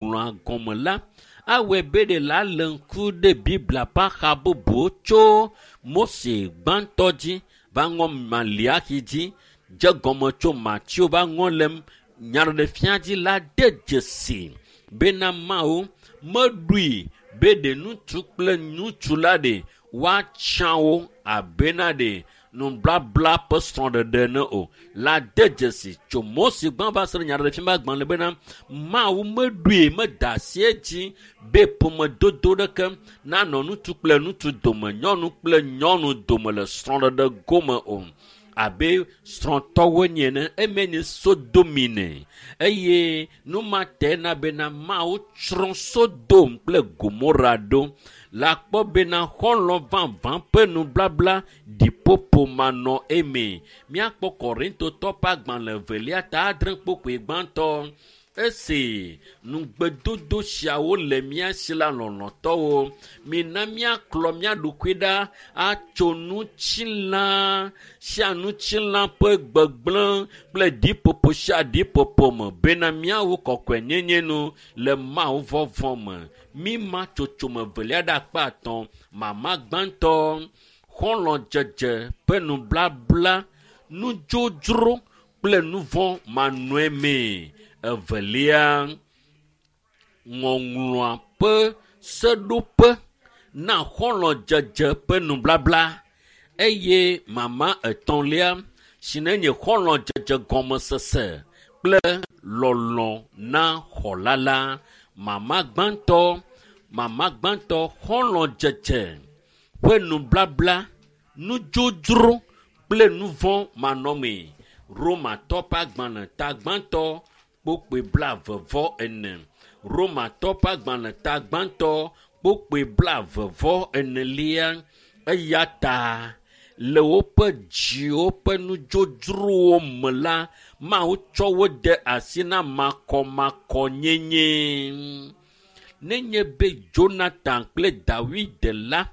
Ŋɔŋlɔa gɔme la, awɔe be ɖe la lé ŋku ɖe Biblia ƒe axa bubuwo tso Mose gbãtɔ dzi va ŋɔ Maliaxi dzi dze gɔme tso Mateo va ŋɔ le Nyaɖeɖefia dzi la de dzesi bena Mawu meɖoe be ɖe ŋutsu kple ŋutsu la ɖe woatsã wo abena ɖe nublabla ƒe srɔ̃ɖeɖe ene o la de dzesi tso Mose gbã va se ɖe Nyaɖeɖefia ƒe agbalẽ bena Mawu meɖoe meda asi edzi be ƒomedodo ɖeke nanɔ ŋutsu kple ŋutsu dome, nyɔnu kple nyɔnu dome le srɔ̃ɖeɖe gome o. Abe srɔ̃tɔwo nye ene, eme nye Sodomine eye nu ma te na bena Mawu tsrɔ̃ Sodom kple Gomora ɖo. Le akpɔ bena xɔlɔ̃ vavã ƒe nublabla ɖiƒoƒo manɔ eme. Míakpɔ Korintotɔ ƒe agbalẽ evelia ta adre kpokpoe gbãtɔ. Esi nugbedodo siawo le mía si la lɔlɔ̃tɔwo, mina míaklɔ mía ɖokui ɖa atso ŋutilã sia ŋutilã ƒe gbegblẽ kple ɖiƒoƒo sia ɖiƒoƒo me bena míawu kɔkɔenyenye nu le Mawu vɔvɔ̃ me. Míma tsotsome evelia ɖe akpa etɔ̃. Mama gbãtɔ, xɔlɔ̃dzedze ƒe nublabla, nudzodzro kple nuvɔ̃ manɔe mee. Evelia, ŋɔŋlɔa ƒe seɖoƒe na xɔlɔ̃dzedze ƒe nublabla eye mama etɔ̃lia si nenye xɔlɔ̃dzedze gɔmesese kple lɔlɔ̃ na xɔla la. Mama gbãtɔ, mama gbãtɔ xɔlɔ̃dzedze ƒe nublabla, nudzodzro kple nuvɔ̃ manɔmee. Romatɔ ƒe agbalẽ ta gbãtɔ kpokpoe blaeve vɔ ene. Romatɔ ƒe agbalẽ ta gbãtɔ kpokpoe blaeve vɔ enelia. Eya ta le woƒe dziwo ƒe nudzodzrowo me la, Mawu tsɔ wo de asi na makɔmakɔnyenye. Nenye be Jonathan kple Dawid la,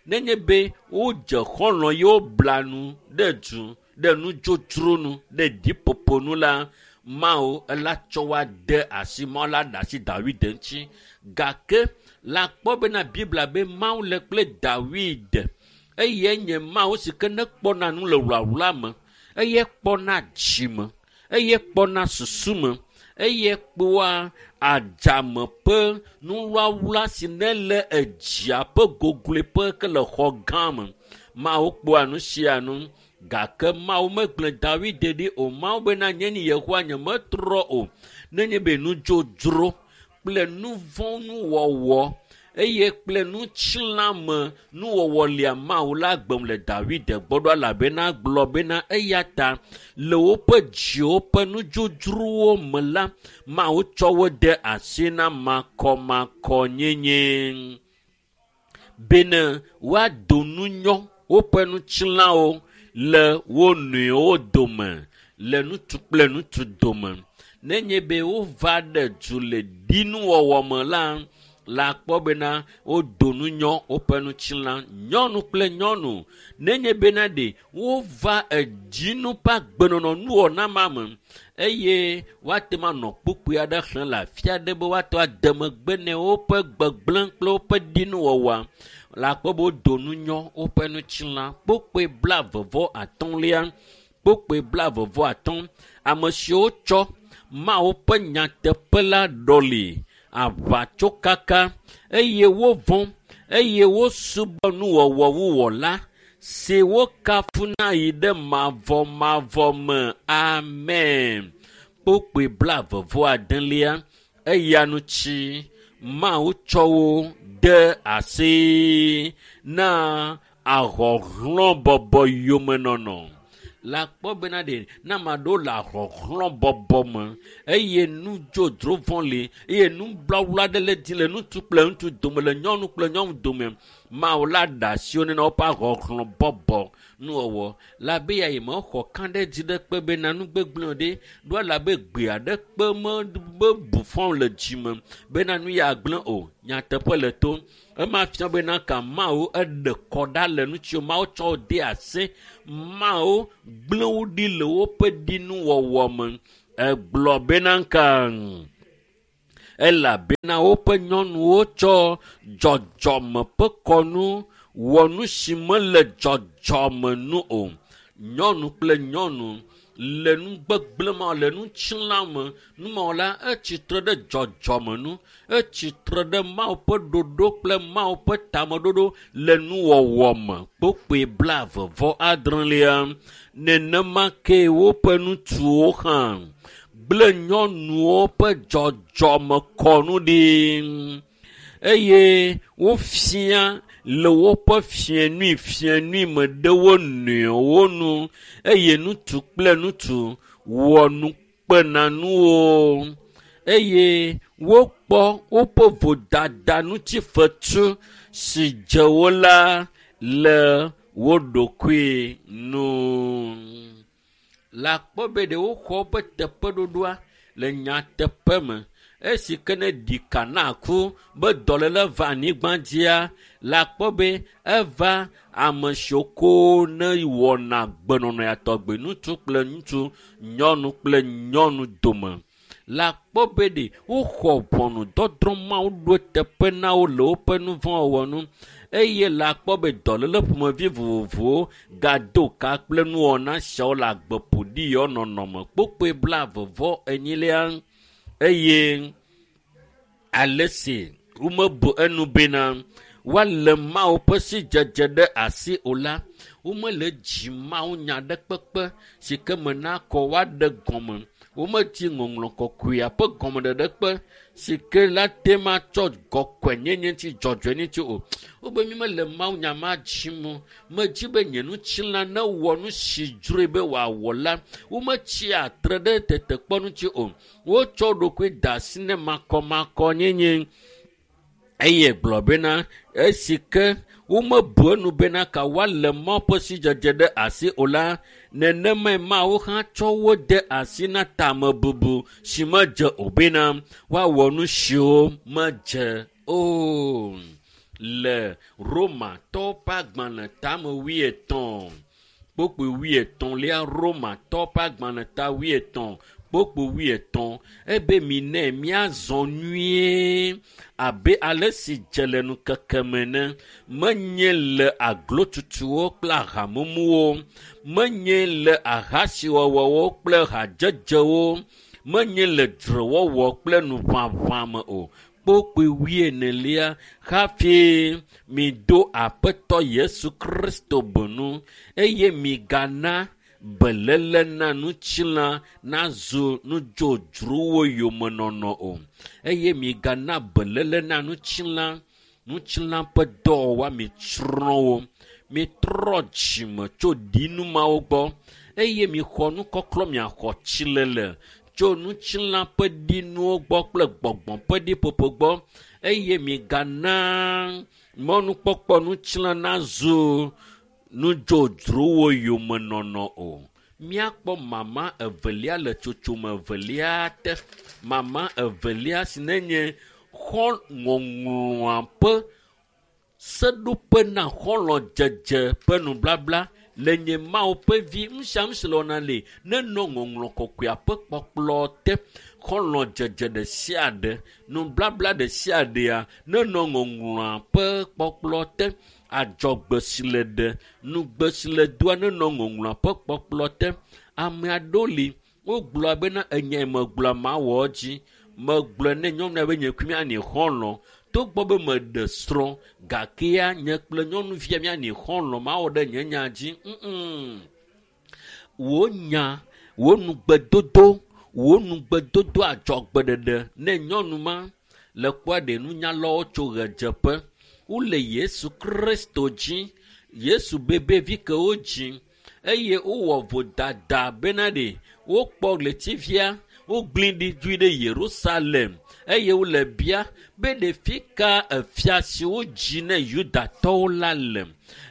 nenye be wodze xɔlɔ̃ ye wobla nu ɖe du ɖe nudzodzro nu ɖe ɖiƒoƒo nu la, Mawu ela tsɔ woa de asi Mawu la ɖe asi Dawid ŋuti. Gake le akpɔ bena Biblia be Mawu le kple Dawid eye nye Mawu si ke ne kpɔna nu le wlawla me, eye kpɔna dzi me, eye kpɔna susu me, eye kpɔa adzame ƒe nuwlawla si ne le edzia ƒe gogloeƒe ke le xɔ gã me. Mawu kpɔa nu sia nu. Gake Mawu megblẽ Dawid ɖi o. Mawu bena nye ni Yehowa nye metrɔ o. Nenye be nudzodzro kple nuvɔ̃ nuwɔwɔ eye kple ŋutilãme nuwɔwɔ lia Mawu la gbem le Dawid gbɔ ɖo elabena gblɔ bena eya ta le woƒe dziwo ƒe nudzodzrowo me la, Mawu tsɔ wo de asi na makɔmakɔnyenye bene woado nunyɔ woƒe ŋutilãwo le wo nɔewo dome, le ŋutsu kple ŋutsu dome. Nenye be wova ɖe du le ɖinuwɔwɔ me la, la akpɔ bena wodo nunyɔ woƒe ŋutilã, nyɔnu kple nyɔnu. Nenye bena ɖe wova edzinu ƒe agbenɔnɔ nuwɔna ma me eye woate ŋu anɔ kpukpui aɖe xlẽm le afi aɖe be woate ŋu ade megbe ne woƒe gbegblẽ kple woƒe ɖinuwɔwɔa, le akpɔ be wodo nunyɔ woƒe ŋutilã. Kpukpui blaeve vɔ atɔ̃lia, kpukpui blaeve vɔ atɔ̃, ame siwo tsɔ Mawu ƒe nyateƒe la ɖɔli aʋatsokaka eye wovɔ̃ eye wosubɔ nuwɔwɔ wuwɔla si wokafuna yi ɖe mavɔmavɔ me. Amen. Kpukpui blaeve vɔ adelia, eya ŋuti Mawu tsɔ wo de asi na ahɔhlɔ̃bɔbɔ yomenɔnɔ. Le akpɔ bena ɖe ne ame aɖewo le ahɔhlɔ̃bɔbɔ me eye nudzodzro vɔ̃ li eye nublawla aɖe le dzi le ŋutsu kple ŋutsu dome le nyɔnu kple nyɔnu dome, Mawu la ɖe asi wo ne woƒe ahɔhlɔ̃bɔbɔ nuwɔwɔ. Le abe ya yi mexɔ kã ɖe dzi ɖe kpe bena nugbegblẽ ɖe ɖo elabe gbe aɖe kpe me mebu fɔm le dzime bena nu ya gblẽ o. Nyateƒe le to. Ema fia bena ka Mawu eɖe kɔ ɖa le ŋuti Mawu tsɔ wo de asi. Mawu gblẽ wo ɖi le woƒe ɖinuwɔwɔ me. Egblɔ bena ka Elabena woƒe nyɔnuwo tsɔ dzɔdzɔme ƒe kɔnu wɔ nu si mele dzɔdzɔme nu o. Nyɔnu kple nyɔnu le nu gbegblẽ ma le ŋutilã me. Numawɔ la etsitre ɖe dzɔdzɔme nu, etsitre ɖe Mawu ƒe ɖoɖo kple Mawu ƒe tameɖoɖo le nuwɔwɔ me. Kpokpoe 26. Nenema ke woƒe ŋutsuwo hã gblẽ nyɔnuwo ƒe dzɔdzɔme kɔnu ɖi eye wofia le woƒe fiẽnui me ɖe wo nɔewo nu eye ŋutsu kple ŋutsu wɔ nukpenanuwo eye wokpɔ woƒe vodada ŋuti fetu si dze wo la le wo ɖokui nu. Le akpɔ be ɖe woxɔ woƒe teƒeɖoɖoa le nyateƒe me. Esi ke ne ɖika na ku be dɔléle va anyigba dzia, le akpɔ be eva ame siwo ko ne wɔna gbenɔnɔ ya tɔgbi ŋutsu kple ŋutsu, nyɔnu kple nyɔnu dome. Le akpɔ be ɖe woxɔ ʋɔnudɔdrɔ̃ Mawu ɖo teƒe na wo le woƒe nu vɔ̃ wɔwɔ nu eye le akpɔ be dɔléle ƒomevi vovovowo gado ka kple nuwɔna siawo le agbe ƒoɖi yawo nɔnɔme. Kpokpoe 44. Eye ale si womebu enu bena woalé Mawu ƒe sidzedze ɖe asi o la, womele dzi Mawu nya ɖe kpekpe si ke me nakɔ woaɖe gɔme. Womedi ŋɔŋlɔ kɔkɔea ƒe gɔmeɖeɖe kpe si ke la te ma tsɔ kɔkɔenyenye ŋuti dzɔdzɔenye ŋuti o. Wobe mi mele Mawu nya ma dzim o. Medzi be nye ŋutilã newɔ nu si dzroe be wòawɔ la, wometsia tre ɖe tetekpɔ ŋuti o. Wotsɔ ɖokui da asi ne makɔmakɔnyenye eye gblɔ bena esi ke womebu enu bena ka woalé Mawu ƒe sidzedze ɖe asi o la, nenemae Mawu hã tsɔ wo de asi na tamebubu si medze o bena woawɔ nu siwo medze o. Le Romatɔwo ƒe agbalẽ tame 80 kpokpoe 80, Romatɔwo ƒe agbalẽ ta 80 kpokpoe 80 ebe mi nɛ míazɔ nyuie abe ale si dze le ŋkeke me ene. Menye le aglotutuwo kple ahamumuwo, menye le ahasiwɔwɔwo kple hadzedzewo, menye le dzrewɔwɔ kple nuʋaʋã me o. Kpokpoe 40 hafi mido Aƒetɔ Yesu Kristo benu eye migana beléle na ŋutilã nazu nudzodzrowo yomenɔnɔ o. Eye migana beléle na ŋutilã, ŋutilã ƒe dɔwɔwɔa mitsrɔ̃ wo. Mitrɔ dzime tso ɖinu mawo gbɔ eye mixɔ nukɔklɔ miaxɔ tsilele tso ŋutilã ƒe ɖinuwo gbɔ kple gbɔgbɔ ƒe ɖiƒoƒo gbɔ eye migana mɔnukpɔkpɔ ŋutilã nazu nudzodzrowo yomenɔnɔ o. Míakpɔ mama evelia le tsotsome evelia te. Mama evelia si nenye xɔ ŋɔŋlɔa ƒe seɖoƒe na xɔlɔ̃dzedze ƒe nublabla le nye Mawu ƒe vi nu sia nu si le wɔna le nenɔ ŋɔŋlɔ kɔkɔea ƒe kpɔkplɔ te. Xɔlɔ̃dzedze ɖe sia ɖe, nublabla ɖe sia ɖea nenɔ ŋɔŋlɔa ƒe kpɔkplɔ te. Adzɔgbe si le ɖe, nugbe si le doa nenɔ ŋɔŋlɔa ƒe kpɔkplɔ te. Ame aɖewo li wogblɔ bena enyae megblɔ mawɔ dzi. Megblɔe ne nyɔnua be nye kple míanyi xɔlɔ̃. Togbɔ be meɖe srɔ̃ gakea nye kple nyɔnuvia míanyi xɔlɔ̃ mawɔ ɖe nye nya dzi. Wò nya, wò nugbedodo, wò nugbedodo adzɔgbeɖeɖe ne nyɔnu ma le kpɔa ɖe nunyalawo tso ɣedzeƒe. Wole Yesu Kristo dzi. Yesu bebevi ke wodzi eye wowɔ vodada bena ɖe wokpɔ ɣletivia wogblẽ ɖi dzoe ɖe Yerusalem eye wole bia be ɖevi ka efia si wodzi ne Yudatɔwo la le.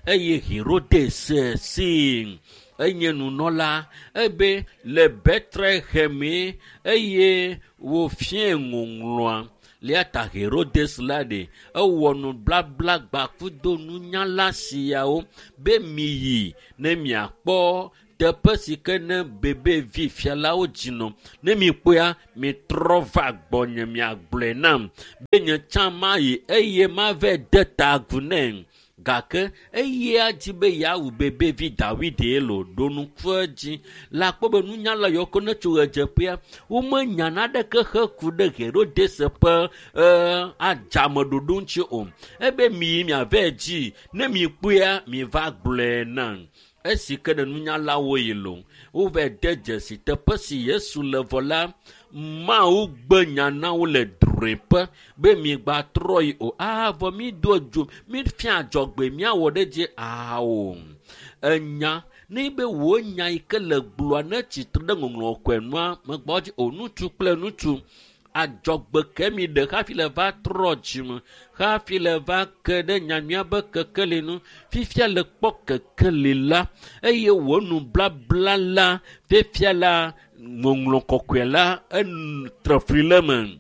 Eye Herodes si enye nunɔla ebe le Betlehemee eye wòfia ŋɔŋlɔa. Lia ta Herodes la ɖe ewɔ nublabla gbakudo nunyala siawo be miyi ne miakpɔ Teƒe si ke ne bebevi fialawo dzinɔ. Ne mikpɔea, mitrɔ va gbɔnye miagblɔe nam be nye tsã mayi eye mava de ta agu nɛ. Gake eya dzi be yeawu bebevi Dawid lo ɖo ŋku edzi. Le akpɔ be nunyala yawo ke ne tso ɣedzeƒea, womenya naneke heku ɖe Herodes ƒe adzameɖoɖo ŋuti o. Ebe miyi miava dzi, ne mikpɔea, miva gblɔe nam. Esi ke ne nunyalawo yi lo, wova de dzesi teƒe si Yesu le vɔ la, Mawu gbe nya na wo le drɔ̃eƒe be migbatrɔ yi o. Vɔ mi do dzo, mi fia adzɔgbe miawɔ ɖe dzi ao. Enya ne be wò nya yi ke le gblɔa ne tsitre ɖe ŋɔŋlɔ kɔe nua megbɔ dzi o. Ŋutsu kple ŋutsu adzɔgbe ke mi ɖe hafi le va trɔ dzime, hafi le va ke ɖe nyanyuia be kekeli nu. Fifia le kpɔ kekeli la eye wò nublabla la fifia la ŋɔŋlɔ kɔkɔe la etre fli le me.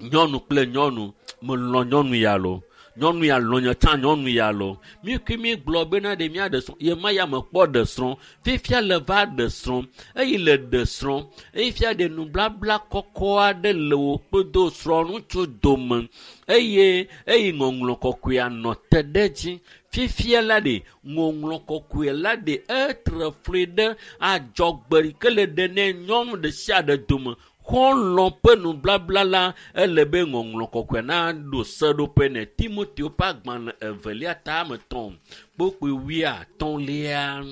Nyɔnu kple nyɔnu, melɔ̃ nyɔnu ya lo. Nyɔnu ya lɔ̃ nye tsã nyɔnu ya lo. Mi kui mi gblɔ bena ɖe mía ɖe srɔ̃, ye ma ya mekpɔ ɖe srɔ̃. Fifia le va ɖe srɔ̃, eye le ɖe srɔ̃. Eye fia ɖe nublabla kɔkɔ aɖe le wò kpedo srɔ̃ŋutsu dome. Eye ŋɔŋlɔ kɔkɔea nɔ te ɖe edzi. Fifia la ɖe ŋɔŋlɔ kɔkɔe la ɖe etre fli ɖe adzɔgbe yi ke le ɖe ne nyɔnu ɖe sia ɖe dome. Xɔlɔ̃ ƒe nublabla la ele be ŋɔŋlɔ kɔkɔe naɖo seɖoƒe ne. Timoteo ƒe agbalẽ evelia ta ame etɔ̃ kpokpoe wuiatɔ̃lia.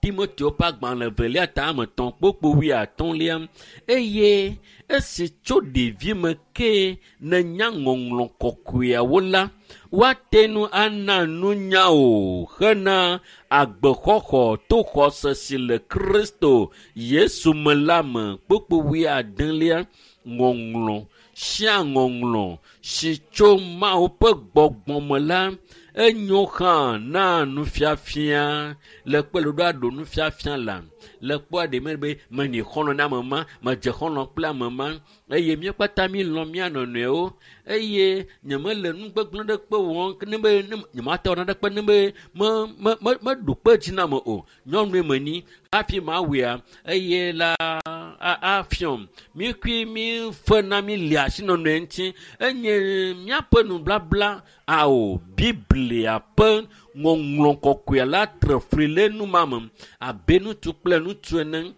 Timoteo ƒe agbalẽ evelia ta ame etɔ̃ kpokpoe wuiatɔ̃lia. Eye esi tso ɖevime ke nenya ŋɔŋlɔ kɔkɔeawo la, woate ŋu ana nunya o hena agbexɔxɔ to xɔse si le Kristo Yesu me la me. Kpokpoe wuiadelia. Ŋɔŋlɔ sia ŋɔŋlɔ si tso Mawu ƒe gbɔgbɔ me la enyo hã na nufiafia. Le kpe ɖoɖo aɖo nufiafia la le kpɔa ɖe me be menyi xɔlɔ̃ na ame ma, medze xɔlɔ̃ kple ame ma eye mía kpata mi lɔ̃ mía nɔnɔewo eye nyemele nu gbegblẽ ɖe kpe wɔm ne be nyemate wɔ naɖe kpe ne be meɖo kpe dzi na ame o. Nyɔnue menyi hafi mawɔea eye la afiɔm. Mi kui mi fe na mi li asi nɔnɔe ŋuti. Enye míaƒe nublabla ao Biblia ƒe ŋɔŋlɔ kɔkɔe la tre fli le nu ma me abe ŋutsu kple ŋutsu ene.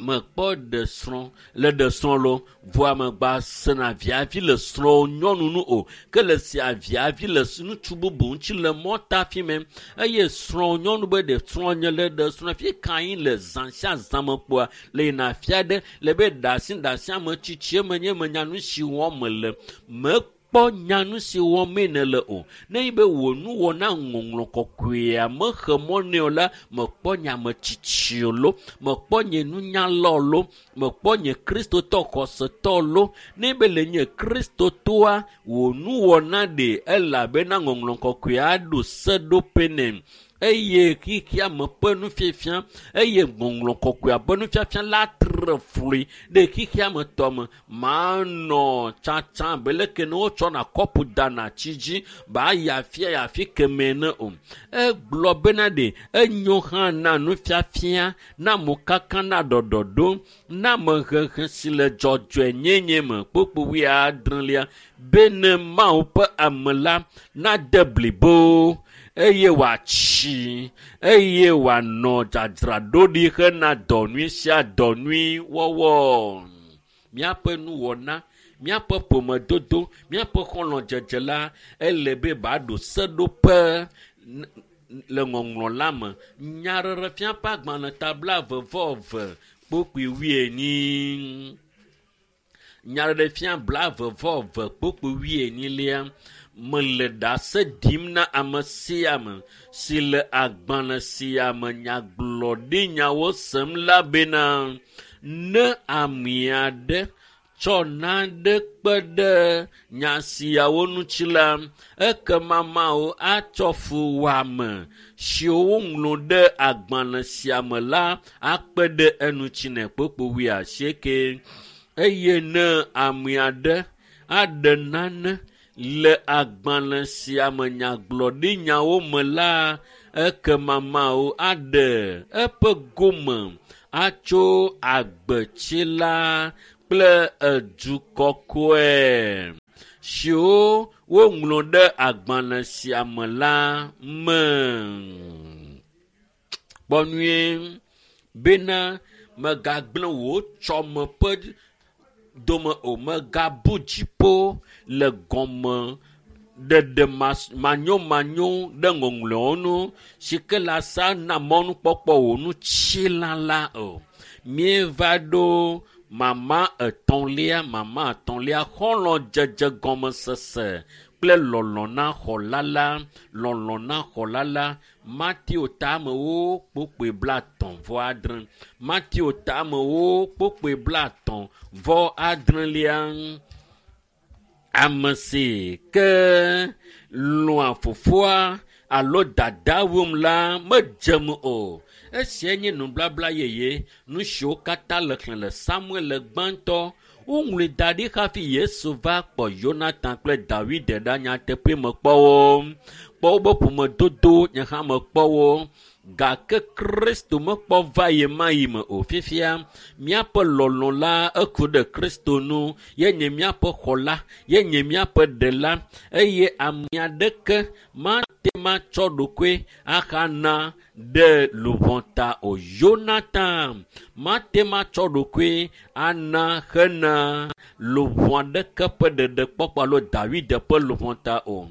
Mekpɔ ɖe srɔ̃ le ɖe srɔ̃ lo vɔa megba sena viavi le srɔ̃ nyɔnu nu o ke le sia viavi le ŋutsu bubu ŋuti le mɔta fi me eye srɔ̃ nyɔnu be ɖe srɔ̃ nye le ɖe srɔ̃ fi ka anyi le zã sia zã me kpoa le yina afia ɖe le be ɖe asi ame tsitsi me nye menya nu si wɔm mele mekpɔ nya nu si wɔm nele o. Ne yi be wò nuwɔna ŋɔŋlɔ kɔkɔea mexe mɔ nɛ o la, mekpɔ nye ame tsitsi lo, mekpɔ nye nunyala lo, mekpɔ nye kristotɔ xɔsetɔ lo. Ne be le nye kristotɔa, wò nuwɔna ɖe elabena ŋɔŋlɔ kɔkɔea ɖo seɖoƒe nɛ. Eye xexea me ƒe nufiafia eye ŋɔŋlɔ kɔkɔea ƒe nufiafia la tre fli ɖe xexea me tɔ me. Manɔ tsatsa abe leke ne wotsɔna kɔpu dana tsi dzi ba yi afia yi afi kemɛ ne o. Egblɔ bena ɖe enyo hã na nufiafia, na mokaka, na ɖɔɖɔɖo, na amehehe si le dzɔdzɔenyenye me kpokpo wuiadrelia bene Mawu ƒe ame la nade blibo eye wòatsi eye wòanɔ dzadzraɖoɖi hena dɔ nyui sia dɔ nyui wɔwɔ. Míaƒe nuwɔna, míaƒe ƒomedodo, míaƒe xɔlɔ̃dzedze la ele be baɖo seɖoƒe le ŋɔŋlɔ la me. Nyaɖeɖefia ƒe agbalẽ ta blaeve vɔ eve kpokpoe wuienyi. Nyaɖeɖefia 22 kpokpoe wuienyilia. Mele ɖase ɖim na ame sia ame si le agbalẽ sia me nyagblɔɖinyawo sem la bena ne ame aɖe tsɔ nane kpe ɖe nya siawo ŋuti la, ekema Mawu atsɔ fuwɔame siwo woŋlɔ ɖe agbalẽ sia me la akpe ɖe eŋuti nɛ kpokpo wuiasieke. Eye ne ame aɖe aɖe nane le agbalẽ sia me nyagblɔɖinyawo me la, Ekema Mawu aɖe eƒe gome atso agbetsila kple edu kɔkɔe siwo woŋlɔ ɖe agbalẽ sia me la me. Kpɔ nyuie bena mègagblẽ wò tsɔme ƒe dome o, mègabu dziƒo le gɔme ɖeɖe manyomanyo ɖe ŋɔŋlɔewo ŋu si ke la sa na mɔnukpɔkpɔ wò ŋutilã la o. Míeva ɖo mama etɔ̃lia, mama etɔ̃lia, xɔlɔ̃dzedze gɔmesese kple lɔlɔ̃ na xɔla la, lɔlɔ̃ na xɔla la. Mateo tamewo kpokpoe blaetɔ̃ vɔ adre. Mateo tamewo kpokpoe blaetɔ̃ vɔ adrelia. Ame si ke lɔ̃a fofoa alo dada wum la medzem o. Esia nye nubabla yeye, nu siwo katã le xlẽ le Samuel gbãtɔ. Woŋlɔe da ɖi hafi Yesu va kpɔ Yonatan kple Dawid ɖa nyateƒe me kpɔ wo. Kpɔ wobe ƒomedodo nye hã mekpɔ wo. Gake Kristo mekpɔ va yi ma yi me o. Fifia, míaƒe lɔlɔ̃ la eku ɖe Kristo ŋu. Ye nye míaƒe xɔla, ye nye míaƒe ɖela eye ame aɖeke mate matsɔ ɖokui axana ɖe luʋɔ ta o. Yonatan mate matsɔ ɖokui ana hena luʋɔ aɖeke ƒe ɖeɖekpɔkpɔ alo Dawid ƒe luʋɔ ta o.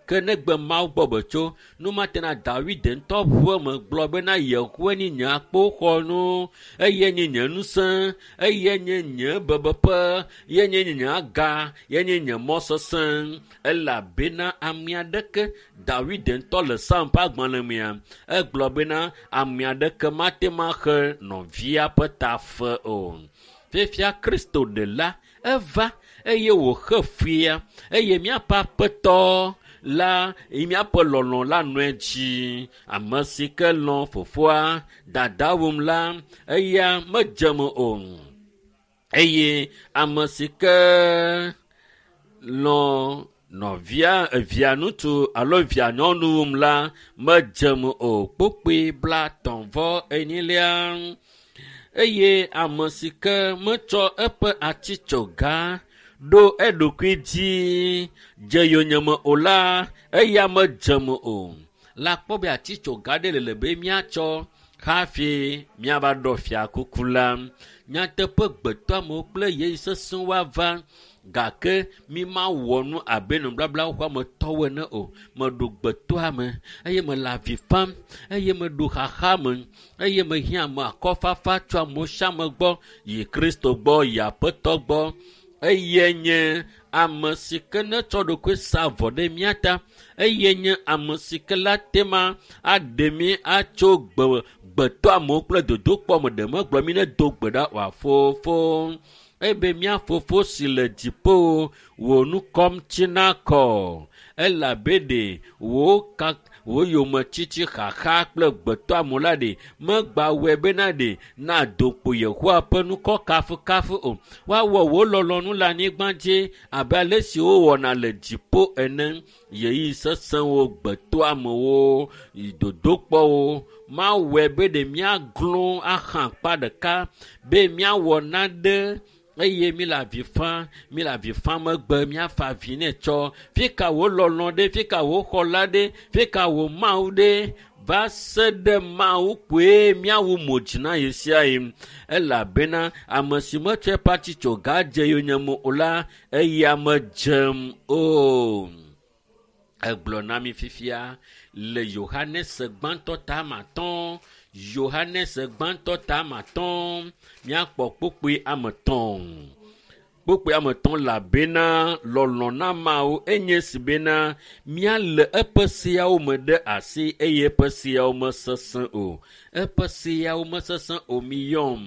Ke negbe Mawu gbɔ be tso, nu mate na Dawid ŋutɔ ʋu eme gblɔ bena Yehowae nye nye akpoxɔnu, eye nye nye ŋusẽ, eye nye nye bebeƒe, ye nye nye aga, ye nye nye mɔ sesẽ. Elabena ame aɖeke Dawid ŋutɔ le Psalm ƒe agbalẽ mea, egblɔ bena ame aɖeke mate maxe nɔvia ƒe tafe o. Fifia Kristo ɖela eva eye wòxe fia eye míaƒe aƒetɔ la míaƒe lɔlɔ̃ la nɔe dzi. Ame si ke lɔ̃ fofoa dada wum la, eya medzem o. Eye ame si ke lɔ̃ nɔvia evia ŋutsu alo via nyɔnu wum la medzem o. Kpokpoe blaetɔ̃ vɔ enyilia. Eye ame si ke metsɔ eƒe atitsoga ɖo eɖokui dzi dze yonyeme o la, eya medzem o. La kpɔ be atitsoga ɖe le be míatsɔ hafi míava ɖɔ fiakuku la. Nyateƒe gbetɔamewo kple ɣeyiɣi sesẽwo ava gake mi mawɔ nu abe nubablawo ƒe ametɔwo ene o. Meɖo gbetɔame eye mele avi fam eye meɖo xaxa me eye mehiã ame akɔfafa tso amewo sia ame gbɔ yi Kristo gbɔ yi Aƒetɔ gbɔ. Eye nye ame si ke netsɔ ɖokui sa vɔ ɖe mía ta. Eye nye ame si ke la te ma aɖe mí atso gbe gbetɔamewo kple dodokpɔ me ɖe megblɔ mí ne do gbe ɖa oa fofo. Ebe mía fofo si le dziƒo wò ŋkɔ ŋuti nakɔ elabe ɖe wò ka wò yometiti xaxa kple gbetɔamewo la ɖe megbawɔe bena ɖe nado kpo Yehowa ƒe ŋkɔ kafukafu o. Woawɔ wò lɔlɔ̃nu le anyigba dzi abe ale si wowɔna le dziƒo ene. Ɣeyiɣi sesẽwo, gbetɔamewo, dodokpɔwo mawɔe be ɖe míaglɔ̃ aha akpa ɖeka be míawɔ nane eye míle avi fam, míle avi fam megbe míafa avi nɛ tsɔ. Fi ka wò lɔlɔ̃ ɖe? Fi ka wò xɔla ɖe? Fi ka wò Mawu ɖe? Va se ɖe Mawu koe míawu mo dzi na ɣe sia ɣi. Elabena ame si metsɔ eƒe atitsoga dze yonyeme o la, eya medzem o. Egblɔ na mi fifia le Yohanes gbãtɔ tame atɔ̃, Yohanes gbãtɔ tame atɔ̃, míakpɔ kpukpui ame etɔ̃. Kpukpui ame etɔ̃ elabena lɔlɔ̃ na Mawu enye si bena míalé eƒe seawo me ɖe asi eye eƒe seawo mesesẽ o. Eƒe seawo mesesẽ o miyɔm.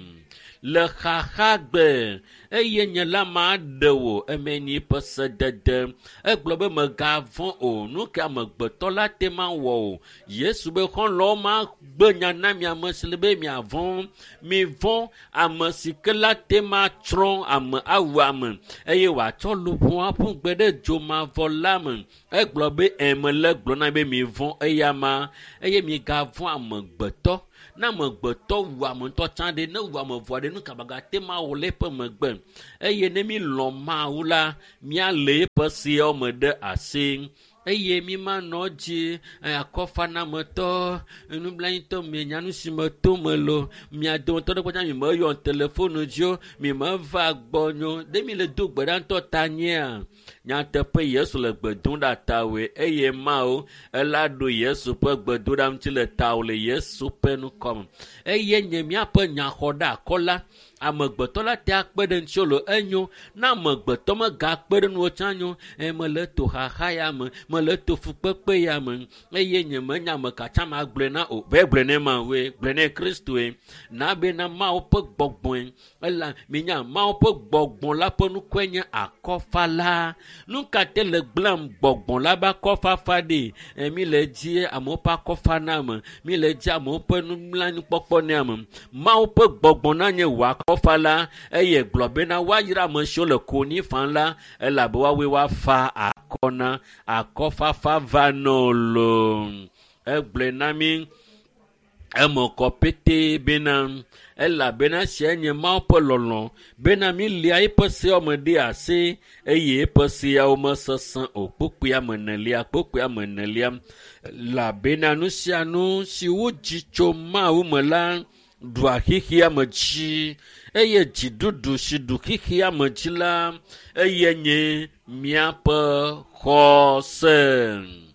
Le xaxagbe eye nye la maɖe wò. Eme nyi ƒe sedede. Egblɔ be mègavɔ̃ o. Nu ka amegbetɔ la te ma wɔ o. Yesu be xɔlɔ̃wo ma gbe nya na mi ame si le be miavɔ̃. Mivɔ̃ ame si ke la te ma tsrɔ̃ ame awu ame eye wòatsɔ luʋɔ aƒu gbe ɖe dzomavɔ la me. Egblɔ be mele gblɔ na be mivɔ̃ eya ma eye migavɔ̃ amegbetɔ. Ne amegbetɔ wu ame ŋutɔ tsã ɖe, ne wu ame vɔa ɖe, nu ka magate ma wɔ le eƒe megbe. Eye ne mi lɔ̃ Mawu la, míalé eƒe seawo me ɖe asi. Eye mi manɔ dzi akɔfanametɔ, nublanyiitɔ mienya nu si me to me lo. Mia dometɔ ɖe kpɔtsa mi meyɔ telefonu dzi o, mi meva gbɔ nyo. Ɖe mi le do gbe ɖa ŋutɔ ta nyea? Nyateƒe Yesu le gbe dom ɖa tawòe eye Mawu ela ɖo Yesu ƒe gbedoɖa ŋuti le tawò le Yesu ƒe ŋkɔme. Eye nye míaƒe nyaxɔɖeakɔla, amegbetɔ la te akpe ɖe ŋutiwò lo enyo. Ne amegbetɔ megakpe ɖe ŋuwò tsã nyo. Mele to xaxa ya me, mele to fukpekpe ya me eye nye menya ame ka tsã magblɔe na o. Vɛ gblɔe ne Mawue, gblɔe ne Kristoe. Na bena Mawu ƒe gbɔgbɔe. Ela minya Mawu ƒe gbɔgbɔ la ƒe nukue nye akɔfala. Nu ka te le gblẽm gbɔgbɔ la be akɔfafa ɖi? Mi le dzi amewo ƒe akɔfa na ame. Mi le dzi amewo ƒe nublanuikpɔkpɔ ne ame. Mawu ƒe gbɔgbɔ na nye wò akɔfala eye gblɔ bena woayra ame siwo le konyi fam la elabe woawoe woafa akɔ na. Akɔfafa va nɔ lo. Egblɔe na mi eme kɔ petee bena elabena esia nye Mawu ƒe lɔlɔ̃ bena mília eƒe seawo me ɖe asi eye eƒe seawo mesesẽ o. Kpukpui ame enelia, kpukpui ame enelia. Elabena nu sia nu si wodzi tso Mawu me la ɖua xexea me dzi eye dziɖuɖu si ɖu xexea me dzi la eye nye míaƒe xɔse.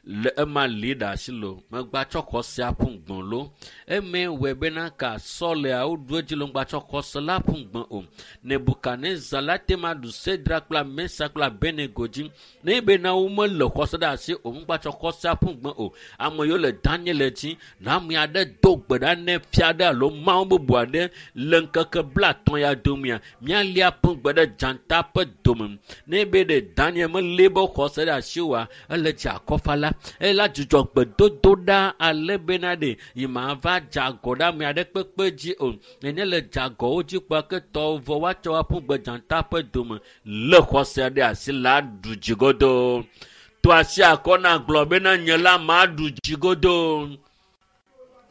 Le ema li ɖe asi lo, megbatsɔ xɔse aƒu gbɔ̃ lo. Eme wɔe bena ka sɔlea woɖu edzi lo ŋgbatsɔ xɔse la ƒu gbɔ̃ o. Nebukadnezar la te ma ɖu Sedra kple Mesa kple Abednego dzi. Ne bena womele xɔse ɖe asi o, ŋgbatsɔ xɔse aƒu gbɔ̃ o. Ame yiwo le Daniel dzi, na ame aɖe do gbe ɖa ne fia ɖe alo mawu bubu aɖe le ŋkeke 50 ya domea, míalia ƒu gbe ɖe dzata ƒe dome. Ne be ɖe Daniel melé be xɔse ɖe asi oa, ele dzi akɔfala. Ela dzudzɔ gbedodo ɖa ale bena ɖe yi ma va dze agɔ ɖe ame aɖe kpekpe dzi o. Nene le dze agɔwo dzi kpɔa ke tɔwo vɔ woatsɔ aƒu gbe dzata ƒe dome le xɔse ɖe asi la ɖu dzi godoo. To asi akɔ na gblɔ bena nye la maɖu dzi godoo.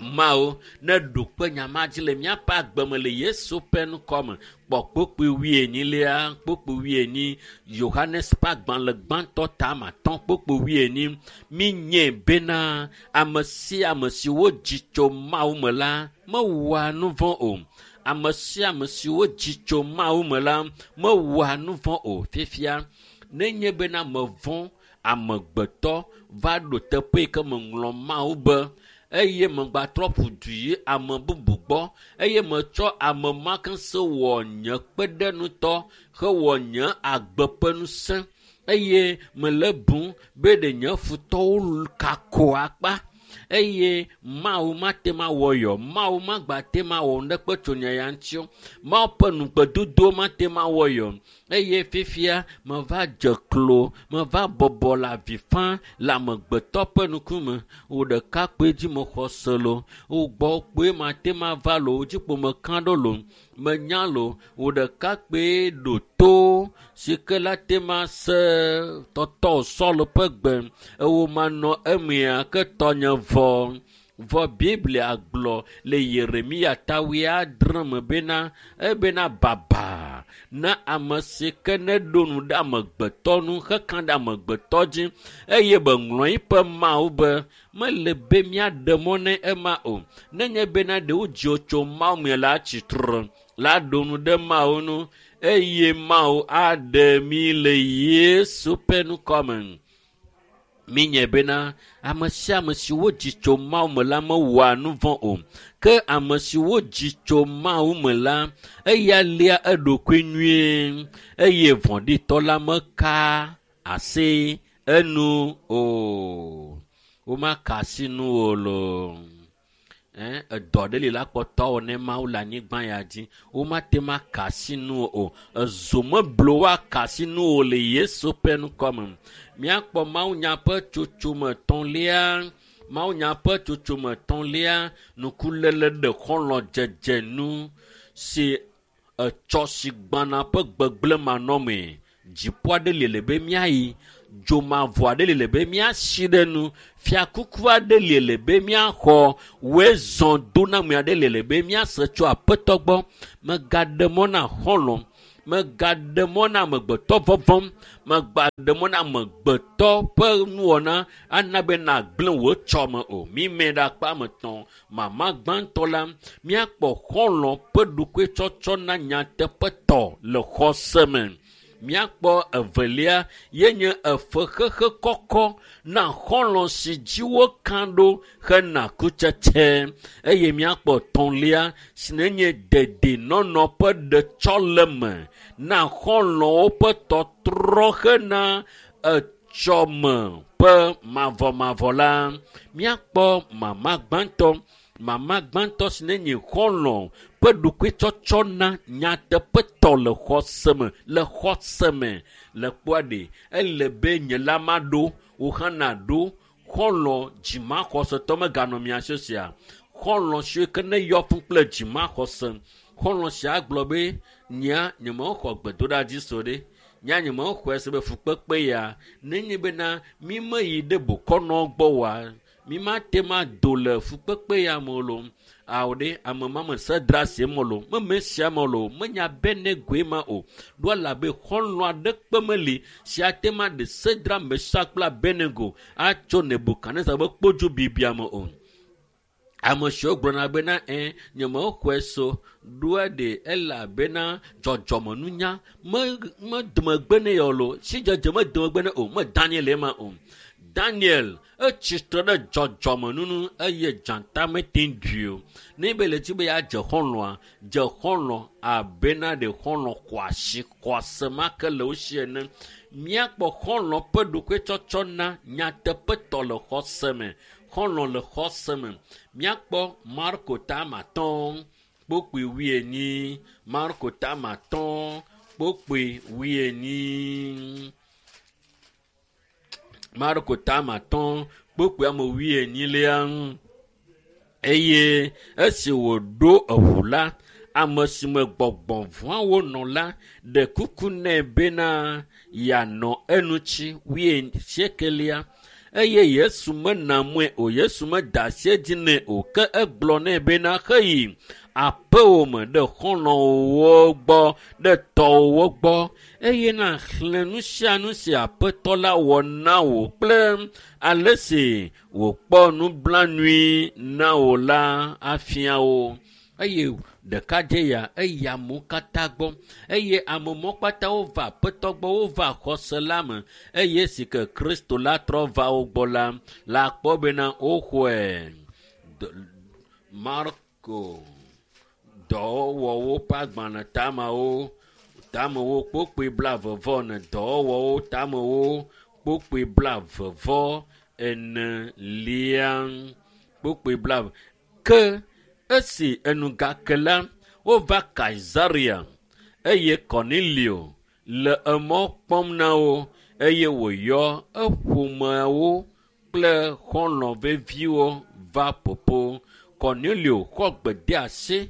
Mawu ne ɖo kpe nya ma dzi le míaƒe agbe me le Yesu ƒe ŋkɔme. Kpɔ kpukpui wuienyilia, kpukpui wuienyi, Yohanes ƒe agbalẽ gbãtɔ ta ame atɔ̃ kpukpui wuienyi. Míenyae bena ame sia ame si wodzi tso Mawu me la mewɔa nu vɔ̃ o. Ame sia ame si wodzi tso Mawu me la mewɔa nu vɔ̃ o. Fifia, nenye bena mevɔ̃ amegbetɔ va ɖo teƒe yi ke meŋlɔ Mawu be eye megbatrɔ ƒu du yi ame bubu gbɔ eye metsɔ ame ma ke se wɔ nye kpeɖenutɔ hewɔ nye agbe ƒe ŋusẽ eye mele bum be ɖe nye futɔwo kako akpa eye Mawu mate ma wɔ yɔ, Mawu magbate ma wɔ nuɖekpe tso nye ya ŋuti o, Mawu ƒe nugbedodo mate ma wɔ yɔ eye fifia meva dze klo, meva bɔbɔ le avi fam le amegbetɔ ƒe ŋkume. Wò ɖeka kpoe dzi mexɔ se lo, wò gbɔ kpoe mate ma va lo, wò dzi kpo meka ɖo lo, menya lo, wò ɖeka kpoe ɖo to si ke la te ma se tɔtɔ Sɔlu ƒe gbe ewò manɔ emea ke tɔnye vɔ. Vɔ Biblia gblɔ le Yeremia ta wuiadre me bena ebena baba na ame si ke ne ɖo nu ɖe amegbetɔ nu heka ɖe amegbetɔ dzi eye be ŋlɔ eƒe Mawu be mele be míaɖe mɔ ne ema o. Nenye bena ɖe wodzi wò tso Mawu me la tsitre la ɖo nu ɖe Mawu nu eye Mawu aɖe mí le Yesu ƒe ŋkɔme. Míenyae bena ame sia ame si wodzi tso Mawu me la mewɔa nu vɔ̃ o. Ke ame si wodzi tso Mawu me la, eya lia eɖokui nyuie eye vɔ̃ɖitɔ la meka asi enu o. Womaka asi nu o loo. Edɔ ɖe li la kpɔtɔ wɔ ne Mawu le anyigba ya dzi. Womate ma ka asi nu o. Ezo meblo woaka asi nu o le Yesu ƒe ŋkɔme. Míakpɔ mawunya ƒe tsotsome etɔ̃lia. Mawunya ƒe tsotsome etɔ̃lia, nukuléle ɖe xɔlɔ̃dzedze nu si etsɔ si gbana ƒe gbegblẽ manɔmee. Dziƒo aɖe li le be míayi, dzomavɔ aɖe li le be míasi ɖe nu, fiakuku aɖe li le be míaxɔ, woe zɔ doname aɖe li le be míase tso aƒetɔ gbɔ. Megaɖe mɔ na xɔlɔ̃, megaɖe mɔ na amegbetɔ vɔvɔm, megaɖe mɔ na amegbetɔ ƒe nuwɔna ana be nagblẽ wò tsɔme o. Mime ɖe akpa ame etɔ̃. Mama gbãtɔ la, míakpɔ xɔlɔ̃ ƒe ɖokuitsɔtsɔ na nyateƒetɔ le xɔse me. Míakpɔ evelia ye nye efexexe kɔkɔ na xɔlɔ̃ si dzi woka ɖo hena kutsetse eye míakpɔ etɔ̃lia si nenye dedienɔnɔ ƒe ɖetsɔleme na xɔlɔ̃wo ƒe tɔtrɔ hena etsɔme ƒe mavɔmavɔ la. Míakpɔ mama gbãtɔ. Mama gbãtɔ si nenye xɔlɔ̃ ƒe ɖokuitsɔtsɔ na nyateƒetɔ le xɔse me, le xɔse me le kpɔa ɖe ele be nye la maɖo, wò hã nàɖo xɔlɔ̃ dzimaxɔsetɔ meganɔ mia si sia. Xɔlɔ̃ siwo ke ne yɔ fũ kple dzimaxɔse. Xɔlɔ̃ sia gblɔ be nyea nyemexɔ gbedoɖa dzi so ɖe. Nyea nyemexɔe se be fukpekpe ya nenye bena mi meyi ɖe bokɔnɔ gbɔ oa, mi mate ma do le fukpekpe ya me o lo. Awo ɖe ame ma me se dra se me lo, meme sia me lo, menya be ne goe ma o. Ɖo elabe xɔlɔ̃ aɖeke meli si ate ma ɖe Sedra, Mesak kple Abednego atso Nebukadnezar ƒe kpodzu bibia me o. Ame siwo gblɔna bena ɛ nyemexɔe so ɖoa ɖe elabena dzɔdzɔmenunya me medemegbe ne yɔ lo, sidzedze medemegbe ne o, me Daniel ema o. Daniel etsi tre ɖe dzɔdzɔmenunu eye dzata mete ŋu ɖui o. Ne be le dzi be yeadze xɔlɔ̃a, dze xɔlɔ̃ abena ɖe xɔlɔ̃ xɔ asi xɔase ma ke le wo si ene. Míakpɔ xɔlɔ̃ ƒe ɖokuitsɔtsɔ na nyateƒetɔ le xɔse me. Xɔlɔ̃ le xɔse me. Míakpɔ Marko tama atɔ̃ kpokpui wuienyi. Marko tama atɔ̃ kpokpui wuienyi. Marko tama atɔ̃ kpokpui ame wuienyilia. Eye esi wòɖo eŋu la, ame si me gbɔgbɔ vɔ̃awo nɔ la ɖe kuku nɛ bena yeanɔ eŋuti wuiasiekelia. Eye Yesu mena mɔe o, Yesu meda asi edzi nɛ o, ke egblɔ nɛ bena heyi aƒewò me ɖe xɔlɔ̃wòwo gbɔ, ɖe tɔwòwo gbɔ eye nàxlẽ nu sia nu si aƒetɔ la wɔ na wò kple ale si wòkpɔ nublanui na wò la afia wo. Eye ɖekadze ya eyi amewo katã gbɔ eye ame mɔ kpata wova aƒetɔ gbɔ, wova xɔse la me eye si ke Kristo la trɔ va wo gbɔ la, la kpɔ bena woxɔe. Marko dɔwɔwɔwo ƒe agbalẽ tamewo tamewo kpokpui blaeve-vɔ-ene dɔwɔwɔwo tamewo kpokpui blaeve-vɔ-enelia kpokpui blaeve. Ke esi enu gake la, wova Kaisarea eye Kornelio le emɔ kpɔm na wo eye wòyɔ eƒomeawo kple xɔlɔ̃ veviwo va ƒoƒo. Kornelio xɔ gbedeasi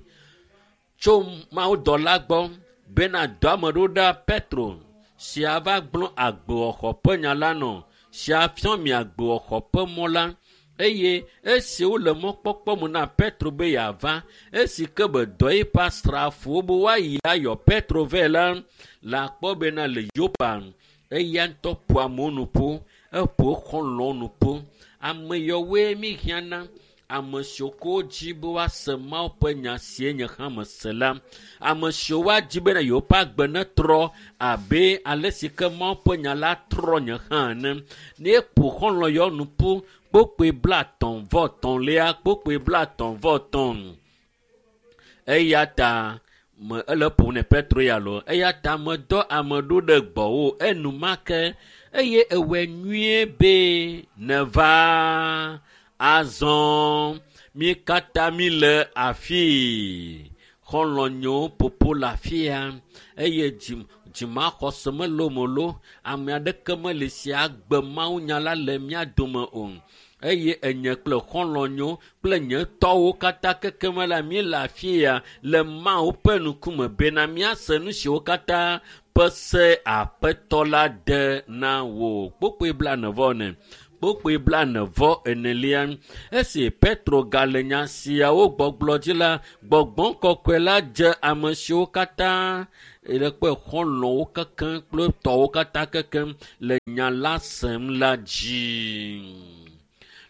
tso mawudɔla gbɔ bena dɔ ame ɖo ɖa Petro si ava gblɔ agbewɔxɔ ƒe nya la nɔ, si afiɔ mi agbewɔxɔ ƒe mɔ la. Eye esi wole mɔkpɔkpɔ me na Petro be yeava, esi ke be dɔ eƒe asrafowo be woayi ayɔ Petro vɛ la, le akpɔ bena le Yopa, eya ŋutɔ ƒo amewo nu ƒu, eƒo xɔlɔ̃wo nu ƒu. Ame yawoe mi hiãna, ame siwo ko dzi be woase Mawu ƒe nya sie nye hã mese la. Ame siwo woadzi bena yewoƒe agbe netrɔ abe ale si ke Mawu ƒe nya la trɔ nye hã ene. Ne eƒo xɔlɔ̃ yawo nu ƒu kpokpui 35 kpokpui 35. Eya ta me ele ƒom ne Petro ya lo. Eya ta medɔ ame ɖo ɖe gbɔwò enumake eye ewɔe nyuie be nèva. Azɔ Mi katã mi le afii. Xɔlɔ̃nyewo ƒoƒo le afi ya eye dzimaxɔse mele wo me lo. Ame aɖeke meli si agbe mawunya la le mía dome o. Eye enye kple xɔlɔ̃nyewo kple nye tɔwo katã kekeme la míele afi ya le Mawu ƒe ŋkume bena míase nu siwo katã ƒe se Aƒetɔ la de na wò. Kpukpui 44. Kpukpui 44. Esi Petro gale nya siawo gbɔgblɔ dzi la, gbɔgbɔ kɔkɔe la dze ame siwo katã le kpe xɔlɔ̃wo kekem kple tɔwo katã kekem le nya la sem la dzi.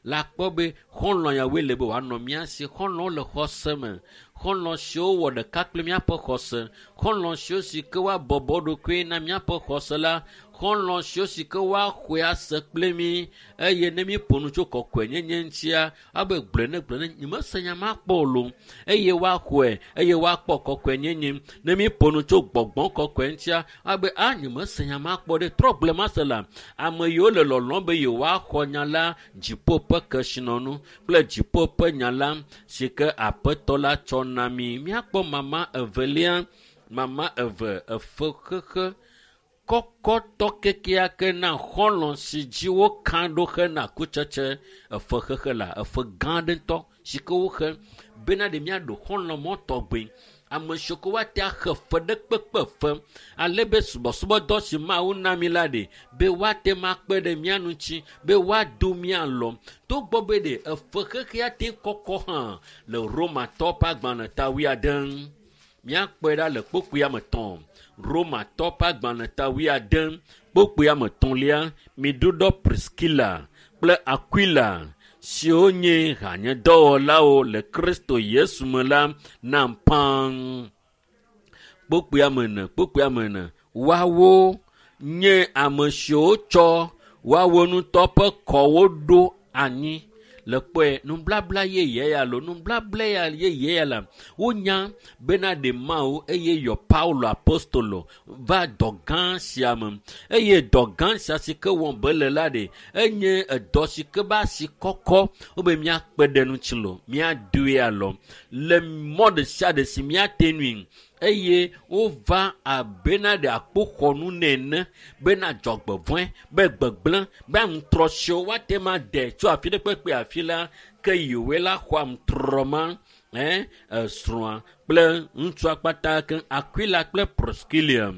La kpɔ be xɔlɔ̃ yawoe le be wòanɔ mía si. Xɔlɔ̃wo le xɔse me. Xɔlɔ̃ siwo wɔ ɖeka kple míaƒe xɔse. Xɔlɔ̃ siwo si ke woabɔbɔ ɖokui na míaƒe xɔse la. Xɔlɔ̃ siwo si ke woaxɔe ase kple mí eye ne míeƒo nu tso kɔkɔenyenye ŋutia, abe gblɔe ne gblɔe ne nyemese nya ma kpɔ o lo. Eye woaxɔe eye woakpɔ kɔkɔenyenye. Ne míeƒo nu tso gbɔgbɔ kɔkɔe ŋutia, abe a nyemese nya ma kpɔ ɖe trɔ gblɔe mase la. Ame yiwo le lɔlɔ̃m be yewoaxɔ nya la dziƒo ƒe kesinɔnu kple dziƒo ƒe nya la si ke Aƒetɔ la tsɔ na mí. Míakpɔ mama evelia, mama eve efe xexe kɔkɔtɔ kekeake na xɔlɔ̃ si dzi woka ɖo hena kutsetse efe xexe la, efe gã aɖe ŋutɔ si ke woxe bena ɖe míaɖo xɔlɔ̃ mɔ tɔgbe. Ame siwo ke woate axe fe ɖe kpekpe fe ale be subɔsubɔdɔ si Mawu na mí la ɖe be woate ma kpe ɖe mía ŋuti be woado mía lɔ. Togbɔ be ɖe efe xexea te kɔkɔ hã le Romatɔ ƒe agbalẽ ta 70. Míakpɔe ɖa le kpukpui ame 3. Romatɔ ƒe agbalẽ ta 70 kpukpui ame 3 miɖuɖɔ Priskila kple Aquila siwo nye hanyedɔwɔlawo le Kristo Yesu me la nam pãŋ. Kpukpui ame 4, kpukpui ame 4. Woawo nye ame siwo tsɔ woawo ŋutɔ ƒe kɔwo ɖo anyi. Le kpɔe nublabla yeye ya lo nublabla ya yeye ya la wonya bena ɖe Mawu eye yɔ Paulo apostolo va dɔ gã sia me eye dɔ gã sia si ke wɔm be le la ɖe enye edɔ si ke be asi kɔkɔ wobe míakpe ɖe ŋuti lo míadoe alɔ le mɔ ɖe sia ɖe si míate nui eye wova abena ɖe akpoxɔnu nene bena dzɔgbevɔ̃e be gbegblẽ be aŋutrɔ siwo woate ma de tso afi ɖe kpekpe afi la ke yewoe la xɔ aŋutrɔ ma esrɔ̃a kple ŋutsua kpata ke Aquila kple Priscilla.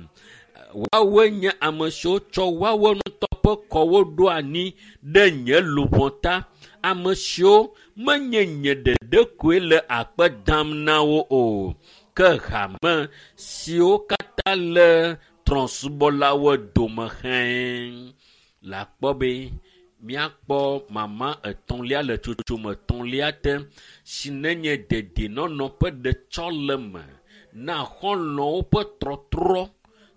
Woawoe nye ame siwo tsɔ woawo ŋutɔ ƒe kɔwo ɖo anyi ɖe nye luʋɔ ta. Ame siwo menye nye ɖeɖe koe le akpe dam na wo o. Ke hame siwo katã le trɔ̃subɔlawo dome hẽ. Le akpɔ be míakpɔ mama 3 le tsotsome 3 te si nenye dedienɔnɔ ƒe ɖetsɔleme na xɔlɔ̃wo ƒe trɔtrɔ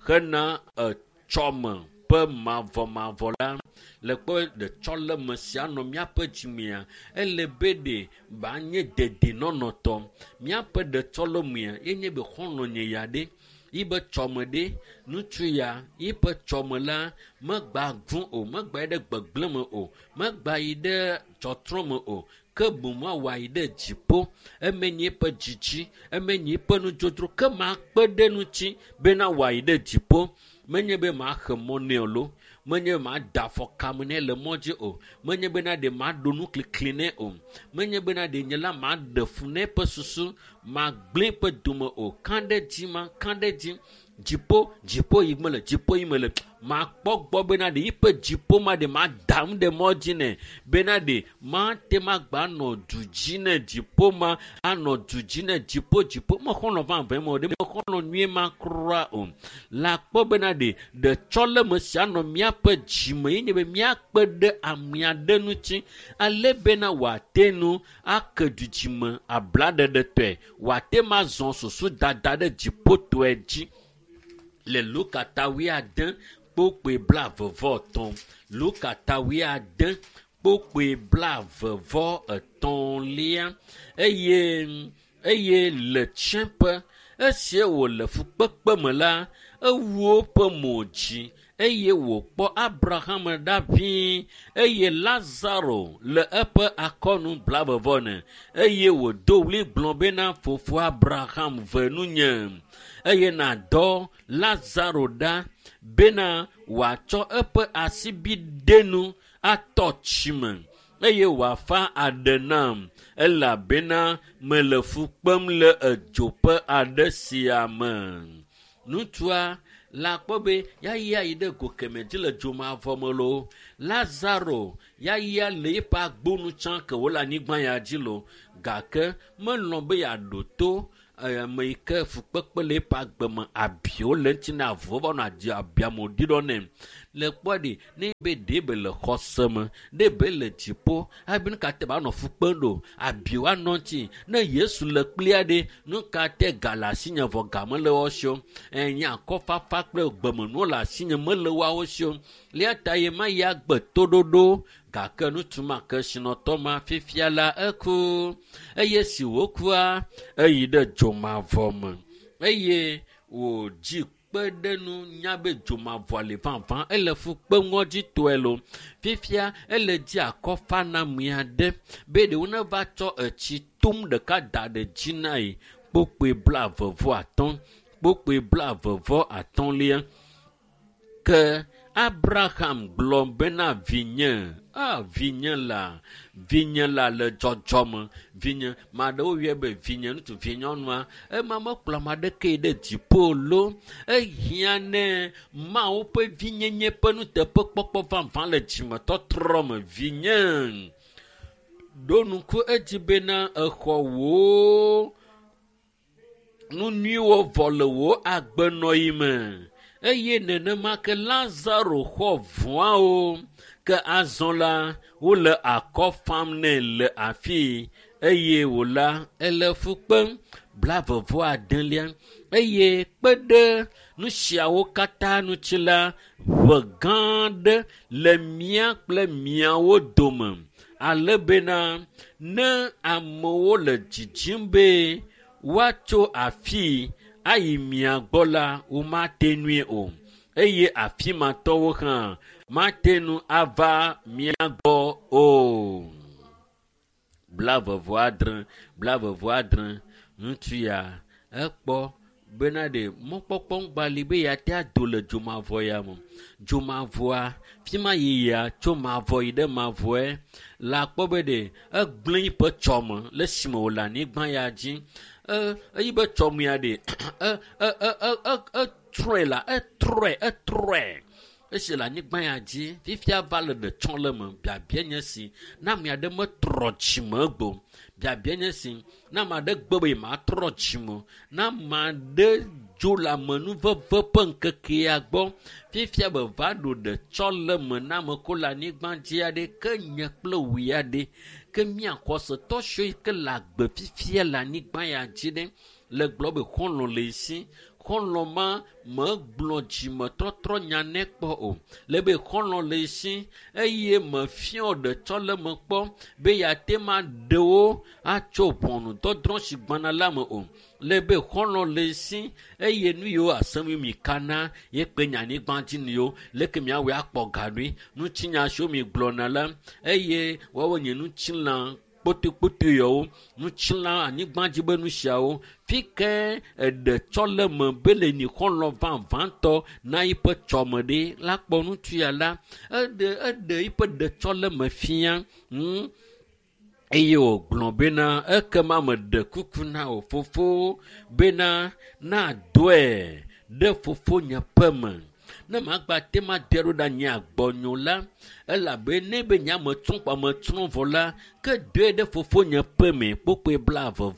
hena etsɔme ƒe mavɔmavɔ la. Le kpɔ ɖetsɔleme sia nɔ míaƒe dzimea, ele be ɖe banye dedienɔnɔtɔ. Míaƒe ɖetsɔlemea yenye be xɔlɔ̃nye ya ɖe yibe tsɔme ɖe ŋutsu ya yiƒe tsɔme la megba vũ o, megba yi ɖe gbegblẽ me o, megba yi ɖe tsɔtrɔ me o, ke boŋ wòayi ɖe dziƒo. Eme nye eƒe dzidzi, eme nye eƒe nudzodzro, ke makpe ɖe ŋuti bena wòayi ɖe dziƒo. Menye be maxe mɔ nɛ o lo, menye be mada afɔ kame nɛ le mɔ dzi o, menye bena ɖe maɖo nuklikli nɛ o, menye bena ɖe nye la maɖe fu nɛ ƒe susu, magblẽ ƒe dome o. Ka ɖe dzi ma, ka ɖe dzi. Dziƒo, dziƒo yi mele, dziƒo yi mele. Makpɔ gbɔ bena ɖe yiƒe dziƒo ma ɖe madam ɖe mɔ dzi nɛ bena ɖe mate magba nɔ du dzi nɛ dziƒo ma anɔ du dzi nɛ dziƒo dziƒo. Mexɔlɔ̃ vavã me o ɖe mexɔlɔ̃ nyuie ma kura o. La kpɔ bena ɖe ɖetsɔleme sia nɔ míaƒe dzime ye nye be míakpe ɖe amea ɖe ŋuti ale bena wòate nu ake du dzime ablaɖeɖetɔe, wòate ma zɔ susu dada ɖe dziƒotɔe dzi. Le Luka ta 70 kpukpui 23. Luka ta 70 kpukpui 23. Eye le tsiẽƒe esie wòle fukpekpe me la, ewu woƒe mo dzi eye wòkpɔ Abraham ɖa ʋĩi eye Lazaro le eƒe akɔnu blaeve-vɔ-ene eye wòdo ɣli gblɔ bena, Fofo Abraham, ve nunye eye nàdɔ Lazaro ɖa bena wòatsɔ eƒe asibidenu atɔ tsi me eye wòafa aɖe nam elabena mele fu kpem le edzo ƒe aɖe sia me. Ŋutsua la kpɔ be yaya yi ɖe go kemɛ dzi le dzomavɔ me loo. Lazaro yaya le eƒe agbonu tsã ke wòle anyigba ya dzi loo gake melɔ̃ be yeaɖo to ame yi ke fukpekpe le eƒe agbe me abiwo le eŋuti na avuwo va nɔ adi abiamewo ɖi ɖɔ nɛ. Le kpɔ ɖi ne be ɖe be le xɔse me, ɖe be le dziƒo hafi nu ka te ba nɔ fu kpem ɖo abiwo anɔ ŋuti. Ne Yesu le kplia ɖe nu ka te ga le asinye vɔ ga mele woawo si o. Nye akɔfafa kple gbemenuwo le asinye mele woawo si o. Eya ta ye ma ya gbe toɖoɖo gake ŋutsu ma kesinɔtɔ ma fifia la eku eye si wòkua eyi ɖe dzomavɔ me eye wòdzi kpe ɖe nu nya be dzomavɔ li vavã ele fu kpem ŋɔdzitɔe lo. Fifia ele dzi akɔfaname aɖe be ɖewo neva tsɔ etsi tom ɖeka da ɖe dzi na yi kpokpoe 25 kpokpoe 35. Ke Abraham gblɔ bena vinye, a vinye la, vinye la le dzɔdzɔme, vinye, maɖewo yɔe be vinye ŋutsu, vinyɔnua, ema mekplɔ ame aɖeke yi ɖe dziƒo lo. Ehiã ne Mawu ƒe vinyenye ƒe nuteƒekpɔkpɔ vavã le dzimetɔtrɔ me. Vinye, ɖo ŋku edzi bena exɔ wò nu nyuiwo vɔ le wò agbenɔɣi me eye nenema ke Lazaro xɔ vɔawo ke azɔ la wole akɔ fam nɛ le afii eye wòla ele fu kpem 26 eye kpe ɖe nu siawo katã ŋuti la ʋe gã aɖe le mía kple miawo dome ale bena ne amewo le dzidzim be woatso afii ayi mia gbɔ la womate nui o eye afi ma tɔwo hã mate ŋu ava mia gbɔ o. 26 26 ŋutsu ya ekpɔ bena ɖe mɔkpɔkpɔ ŋgba li be yeate ado le dzomavɔ ya me. Dzomavɔa fi ma yiyia tso mavɔ yi ɖe mavɔe la kpɔ be ɖe egblẽ yiƒe tsɔme le esime wòle anyigba ya dzi. Eyi be tsɔme ya ɖe etrɔe la etrɔe esi le anyigba ya dzi fifia va le ɖe tsɔ le me. Biabia nye si ne ame aɖe metrɔ dzime gbo. Biabia nye si ne ame aɖe gbe be matrɔ dzime ne ame aɖe dzo le amenuveve ƒe ŋkekea gbɔ fifia be va ɖo ɖe tsɔ le me na ame ko le anyigba dzi aɖe ke nye kple wòe aɖe ke mía xɔsetɔ siwo yi ke le agbe fifia le anyigba ya dzi ɖe le gblɔ be xɔlɔ̃ le esi xɔlɔ̃ ma megblɔ dzimetɔtrɔ nya nɛ kpɔ o le be xɔlɔ̃ le esi eye mefiɔ ɖe tsɔ le me kpɔ be yeate ma ɖewo atso ʋɔnudɔdrɔ̃ si gbɔna la me o le be xɔlɔ̃ le esi eye nu yiwo asem mi kana ye kpe nye anyigba dzi nu yiwo leke miawɔe akpɔ ga ɖoe ŋutinya siwo mi gblɔna la eye woawo nye ŋutilã kpotokpoto yawo ŋutilã anyigba dzi be nu siawo fi ke eɖe tsɔ le me be le nyi xɔlɔ̃ vavãtɔ na yiƒe tsɔme ɖe la kpɔ ŋutsu ya la eɖe eɖe yiƒe ɖetsɔ le me fia eye wògblɔ bena ekema meɖe kuku na wò fofo bena nadɔe ɖe fofonye ƒe me ne magba te ma de ɖo ɖe nye agbɔnyo la elabe ne be nye ame tsrɔ̃ kpɔ ame tsrɔ̃ vɔ la ke dɔe ɖe fofonye ƒe me kpokpoe 44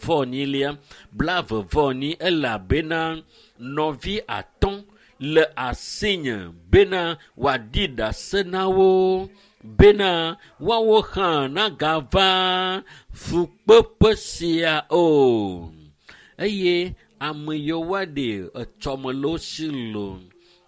44 elabena nɔvi 5 le asinye bena wòaɖi ɖase na wo bena woawo hã nagava fukpekpe sia o eye ame yiwo woaɖe etsɔme le wo si lo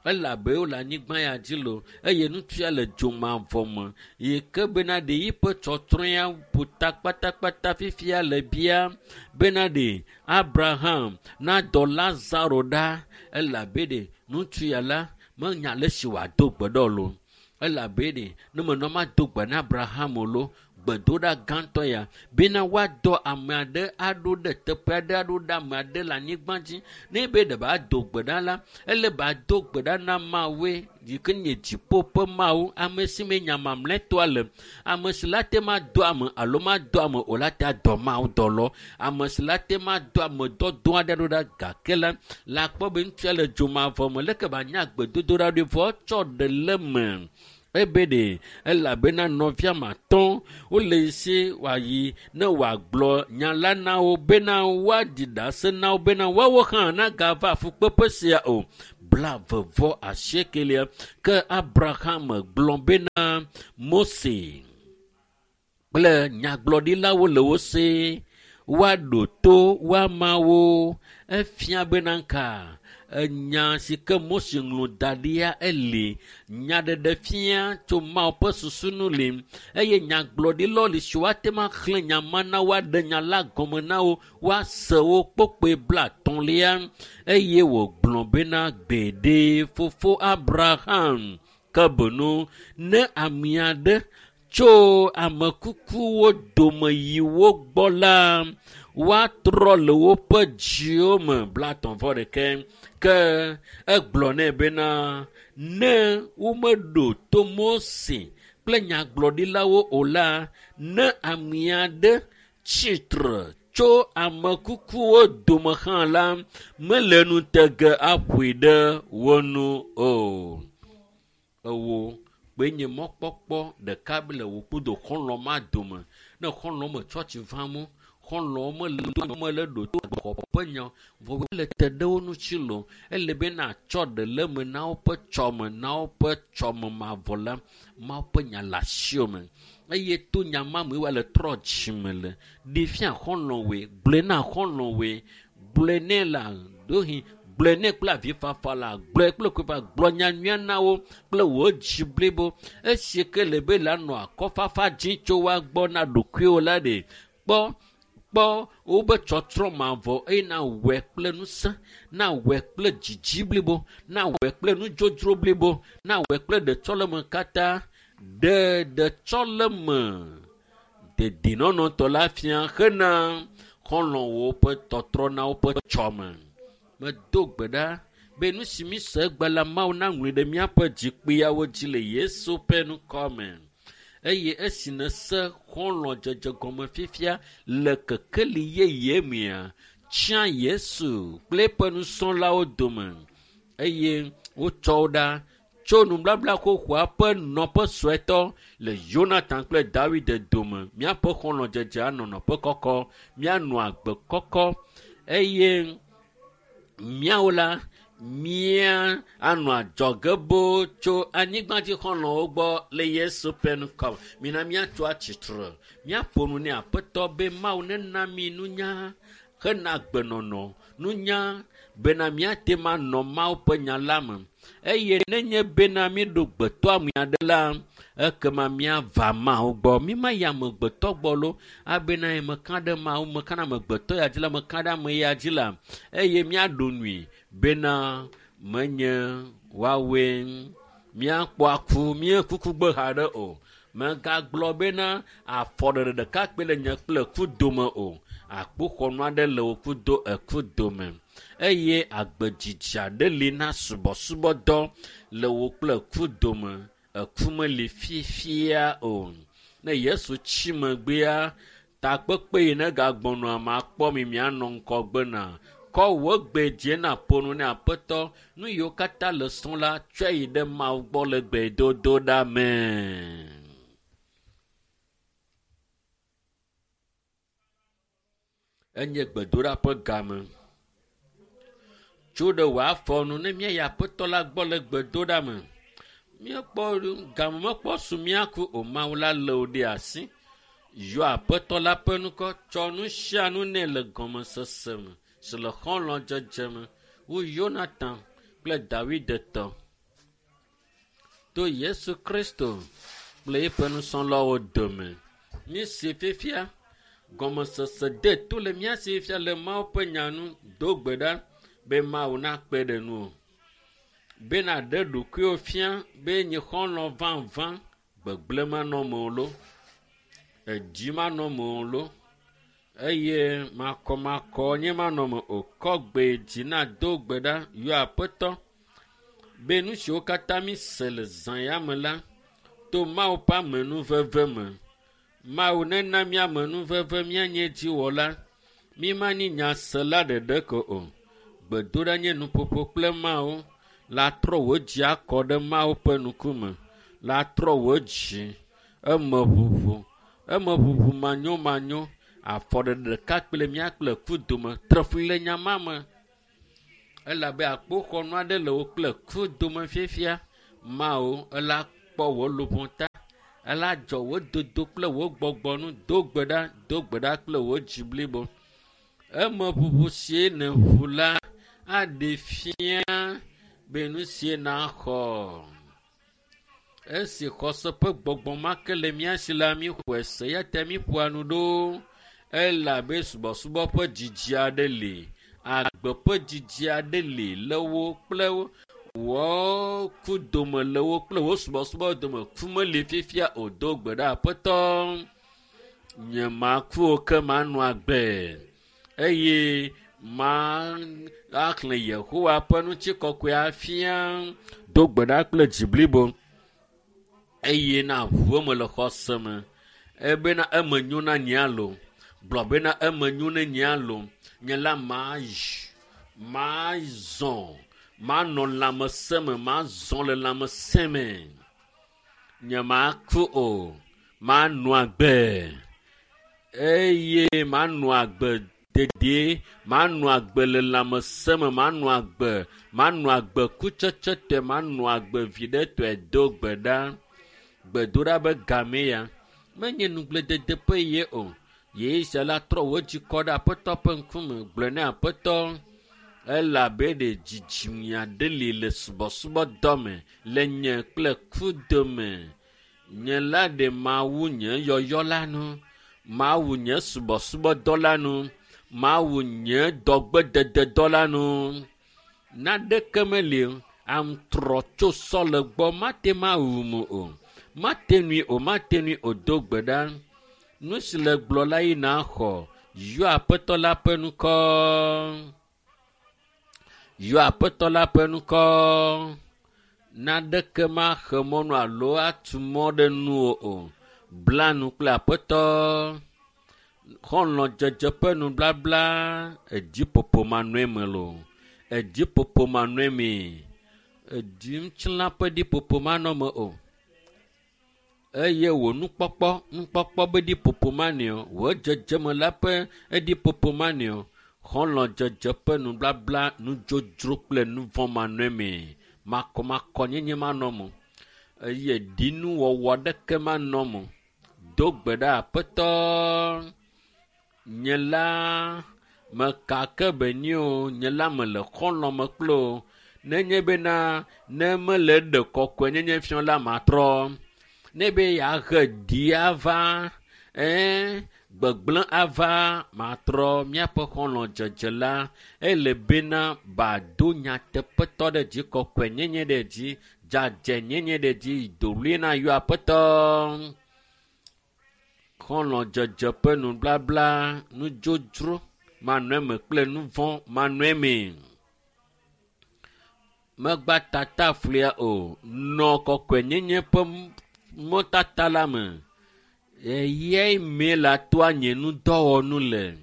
elabe wole anyigba ya dzi lo eye ŋutsu ya le dzomavɔ me yi ke bena ɖe yiƒe tsɔtsrɔ̃ ya ƒo ta kpatakpata fifia le bia bena ɖe Abraham nadɔ Lazaro ɖa elabe ɖe ŋutsu ya la Menya ale si wòado gbe ɖe o lo. Elabe ɖe ne menɔ mado gbe na Abraham o lo, gbedoɖa gãtɔ ya bena woadɔ ame aɖe aɖo ɖe teƒe aɖe aɖo ɖe ame aɖe le anyigba dzi. Ne be ɖe ba do gbe ɖa la, ele ba do gbe ɖa na Mawue yi ke nye dziƒo ƒe Mawu, ame si me nya mamlɛtɔa le. Ame si la te ma do ame alo ma do ame o la te adɔ Mawu dɔlɔ. Ame si la te ma do ame dɔdɔ aɖe ɖo ɖa gake la, la kpɔ be ŋutsua le dzomavɔ me leke ba nya gbedodoɖa ɖoe vɔ tsɔ ɖe le me. Ebe ɖe elabena nɔvia matɔ wole si wòayi ne wòagblɔ nya la na wo bena woaɖi ɖase na wo bena woawo hã nagava fukpeƒe sia o. 28. Ke Abraham gblɔ bena Mose kple nyagblɔɖilawo le wo si woaɖo to woamawo. Efia bena ka enya si ke Mose ŋlɔ da ɖia eli. Nyaɖeɖe fia tso Mawu ƒe susu nu li eye nyagblɔɖilawo li si woate ŋu axlẽ nya ma na woaɖe nya la gɔme na wo woase wo kpokpoe 50 eye wògblɔ bena gbeɖe fofo Abraham ke benu ne ame aɖe tso ame kukuwo dome yi wo gbɔ la woatrɔ le woƒe dziwo me 31. Ke egblɔ nɛ bena ne womeɖo to Mose kple nyagblɔɖilawo o la, ne ame aɖe tsitre tso ame kukuwo dome hã la, mele nu te ge aƒoe ɖe wo nu o. Ewo kpe nye mɔkpɔkpɔ ɖeka le wò kudo xɔlɔ̃ ma dome. Ne xɔlɔ̃ me tsɔtsi vam o, xɔlɔ̃wo mele ɖo to xɔ ƒe nya vɔ wole te ɖe wo ŋuti lo. Ele be natsɔ ɖe le eme na woƒe tsɔme, na woƒe tsɔme mavɔ la, Mawu ƒe nya le asiwò me. Eye to nya ma me woale trɔ dzime le. Ɖe fia xɔlɔ̃woe, gblɔe na xɔlɔ̃woe, gblɔe nɛ la ɖohi, gblɔe nɛ kple avifafa la, gblɔe kple kofa, gblɔ nya nyuia na wo kple wò dzi blibo. Esi ke le be la nɔ akɔfafa dzi tso woa gbɔ na ɖokuiwò la ɖe, kpɔ wobe tsɔtsrɔ̃ mavɔ eye na wɔe kple ŋusẽ, na wɔe kple dzidzi blibo, na wɔe kple nudzodzro blibo, na wɔe kple ɖetsɔleme katã. Ɖe ɖetsɔleme dedinɔnɔtɔ la fia hena xɔlɔ̃wo ƒe tɔtrɔ na woƒe tsɔme. Medo gbe ɖa be nu si mi se egbe la Mawu naŋlɔe ɖe míaƒe dzikpuiawo dzi le Yesu ƒe ŋkɔ me. Eye esi nèse xɔlɔ̃dzedze gɔme fifia le kekeli yeye mea, tsia Yesu kple eƒe nusrɔ̃lawo dome eye wotsɔ wo ɖa tso nubabla xoxoa ƒe nɔƒe suetɔ le Yonatan kple Dawid dome. Míaƒe xɔlɔ̃dzedze anɔ nɔƒe kɔkɔ, míanɔ agbe kɔkɔ eye míawo la mía anɔ adzɔge boo tso anyigbadzi xɔlɔ̃wo gbɔ le Yesu ƒe ŋkɔ me. Mina míatso atsitre, míaƒo nu nɛ Aƒetɔ be Mawu nena mí nunya hena agbenɔnɔ, nunya bena míate ŋu anɔ Mawu ƒe nya la me. Eye nenye bena míɖo gbetɔame aɖe la, ekema míava Mawu gbɔ. Mímayi amegbetɔ gbɔ lo, abena meka ɖe Mawu, meka ɖe amegbetɔ ya dzi la, meka ɖe ame ya dzi la. Eye míaɖo nui bena menye woawoe míakpɔ aku, míekukugbe haɖe o. Megagblɔ bena afɔɖeɖe ɖeka kpe le nye kple ku dome o. Akpoxɔnu aɖe le wò kudo eku dome. Eye agbedzidzi aɖe li na subɔsubɔdɔ le wò kple ku dome. Eku meli fifia o. Ne Yesu tsi megbea, takpekpe yi ne gagbɔnɔa makpɔ mi mianɔ ŋgɔgbe na. Kɔ wò gbe dzi na ƒo nu ne Aƒetɔ. Nu yiwo katã le srɔ̃ la, tsɔe yi ɖe Mawu gbɔ le gbedodoɖa me. Enye gbedoɖa ƒe game. Tso ɖe wò afɔ nu ne míayi Aƒetɔ la gbɔ le gbedoɖa me. Míekpɔ game mekpɔ su míaku o. Mawu la lé wò ɖe asi. Yɔ Aƒetɔ la ƒe ŋkɔ, tsɔ nu sia nu nɛ le gɔmesese me si le xɔlɔ̃dzedze me wu Yonatan kple Dawid tɔ. To Yesu Kristo kple eƒe nusrɔ̃lawo dome. Míese fifia gɔmesese de to le mía si fifia le Mawu ƒe nya nu. Do gbe ɖa be Mawu nakpe ɖe nuwò. Bena ɖe ɖokuiwo fia be nye xɔlɔ̃ vavã gbegblẽ manɔ me o lo, edzi manɔ me o lo, eye makɔmakɔ nye manɔ me o. Kɔ gbe dzi na do gbe ɖa yɔ aƒetɔ be nu siwo katã mi se le zã ya me la to Mawu ƒe amenuveve me. Mawu nena mía amenuveve míanye dziwɔla. Mi manyi nyasela ɖeɖe ko o. Gbedoɖa nye nuƒoƒo kple Mawu la trɔ wò dzi akɔ ɖe Mawu ƒe ŋkume. La trɔ wò dzi eme ʋuʋu eme ʋuʋu manyomanyo afɔɖeɖe ɖeka kple mía kple ku dome tre fli le nya ma me. Elabe akpoxɔnu aɖe le wo kple ku dome fiafia. Mawu ela kpɔ wò luʋɔ ta. Ela dzɔ wò dodo kple wò gbɔgbɔ nu. Do gbe ɖa, do gbe ɖa kple wò dzi blibo. Eme ʋuʋu sie nèʋu la aɖe fia be nu sie naxɔ. Esi xɔse ƒe gbɔgbɔ ma ke le mía si la, míxɔe se eya ta míƒoa nu ɖo. Elabe subɔsubɔ ƒe dzidzi aɖe li, agbe ƒe dzidzi aɖe li le wo kple wò ku dome le wo kple wò subɔsubɔ dome. Ku meli fifia o. Do gbe ɖa aƒetɔ. Nye maku o ke manɔ agbe eye ma axlẽ Yehowa ƒe ŋutikɔkɔe afia. Do gbe ɖa kple dzi blibo eye na ʋu eme le xɔse me. Ebena eme nyo na nye alo. Gblɔ bena eme nyo na nye alo. Nye la mazi, mazɔ, manɔ lãmesẽ me, mazɔ le lãmesẽ me. Nye maku o, manɔ agbe eye manɔ agbe dedie, manɔ agbe le lãmesẽ me, manɔ agbe, manɔ agbe kutsetsetɔe, manɔ agbe viɖetɔe. Do gbe ɖa. Gbedoɖa be game ya. Menye nugblẽdede ƒe ye o. Yesu la trɔ wò dzi kɔ ɖe aƒetɔ ƒe ŋkume. Gblɔe ne aƒetɔ elabe ɖe dzidzime aɖe li le subɔsubɔdɔ me le nye kple ku dome. Nye la ɖe mawu nye yɔyɔ la nu. Mawu nye subɔsubɔdɔ la nu. Mawu nye dɔgbedededɔ la nu. Naneke meli o. Aŋutrɔ tso sɔ le gbɔ mate ŋu awum o. Mate ŋui o, mate ŋui o. Do gbe ɖa. Nu si le gblɔ la yi naxɔ. Yɔ aƒetɔ la ƒe ŋkɔ. Yɔ aƒetɔ la ƒe ŋkɔ. Naneke maxe mɔnu alo atu mɔ ɖe nuwò o. Bla nu kple aƒetɔ. Xɔlɔ̃dzedze ƒe nublabla edziƒoƒo manɔe me loo. Edziƒoƒo manɔe mee. Edzi ŋutilã ƒe ɖiƒoƒo manɔ me o. Eye wò nukpɔkpɔ, nukpɔkpɔ be ɖiƒoƒo manɔe o. Wò dzedzeme la ƒe eɖiƒoƒo manɔe o. Xɔlɔ̃dzedze ƒe nublabla nudzodzro kple nuvɔ̃ manɔe mee. Makɔmakɔnyenye manɔ me o. Eye ɖinuwɔwɔ aɖeke manɔ me o. Do gbe ɖa aƒetɔ. Nye la meka ke be nyi o. Nye la mele xɔlɔ̃ me kple o. Nenye bena ne mele ɖe kɔkɔenyenye fiɔ la matrɔ. Ne be yeahe ɖi ava, ɛɛ gbegblẽ ava matrɔ míaƒe xɔlɔ̃dzedze la. Ele bena bado nyateƒetɔ ɖe dzi, kɔkɔenyenye ɖe dzi, dzadzɛnyenye ɖe dzi, doɣli na yɔ aƒetɔ. Xɔlɔ̃dzedze ƒe nublabla, nudzodzro manɔ eme kple nuvɔ̃ manɔ eme. Megba tata flia o. Nɔ kɔkɔenyenye ƒe mɔtata la me. Eyae mee la toa nye nudɔwɔnu le.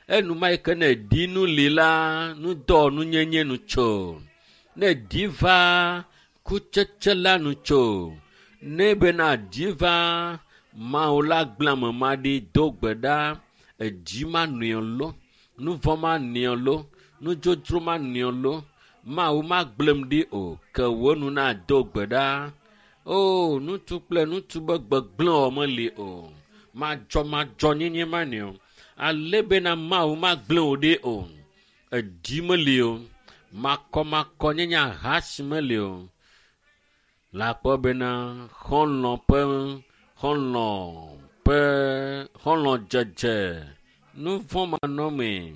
Enuma yi ke ne ɖi nu li la, nudɔwɔnu nyenye nu tso. Ne ɖi va kutsetse la nu tso. Ne bena ɖi va Mawu la gblẽ ame ma ɖi do gbe ɖa. Edzi manɔe lo, nuvɔ̃ manɔe lo, nudzodzro manɔe lo. Mawu magblẽm ɖi o. Ke wò nu nado gbe ɖa. O, ŋutsu kple ŋutsu be gbegblẽ wɔ meli o. Madzɔmadzɔnyenye manɔe o. Ale bena Mawu magblẽ wò ɖi o. Edzi meli o. Makɔmakɔnyenye ahasi meli o. Le akpɔ bena xɔlɔ̃ ƒe xɔlɔ̃ ƒe xɔlɔ̃dzedze nuvɔ̃ manɔmee.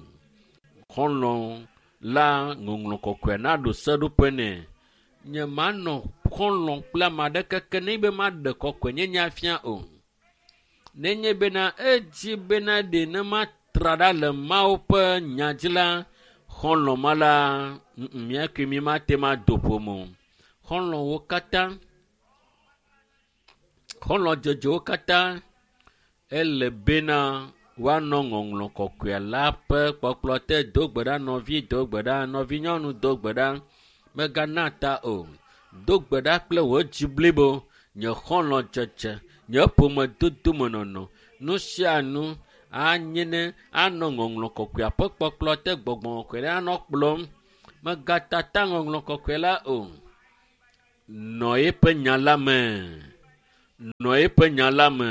Xɔlɔ̃ la ŋɔŋlɔ kɔkɔe naɖo seɖoƒe nɛ. Nye manɔ xɔlɔ̃ kple ame aɖeke ke nenye be maɖe kɔkɔenyenye afia o. Nenye bena edzi bena ɖe ne matra ɖa le Mawu ƒe nya dzi la, xɔlɔ̃ ma la, mía kple mi mate ŋu ado ƒome o. Xɔlɔ̃wo katã, xɔlɔ̃dzedzewo katã, ele bena woanɔ ŋɔŋlɔ kɔkɔe la ƒe kpɔkplɔ te. Do gbe ɖa nɔvi, do gbe ɖa nɔvinyɔnu, do gbe ɖa. Mègana ta o. Do gbe ɖa kple wò dzi blibo, nye xɔlɔ̃dzedze, nye ƒomedodomenɔnɔ, nu sia nu anye ne anɔ ŋɔŋlɔ kɔkɔea ƒe kpɔkplɔ te. Gbɔgbɔ kɔkɔe la anɔ kplɔm. Mègatata ŋɔŋlɔ kɔkɔe la o. Nɔ eƒe nya la me. Nɔ eƒe nya la me.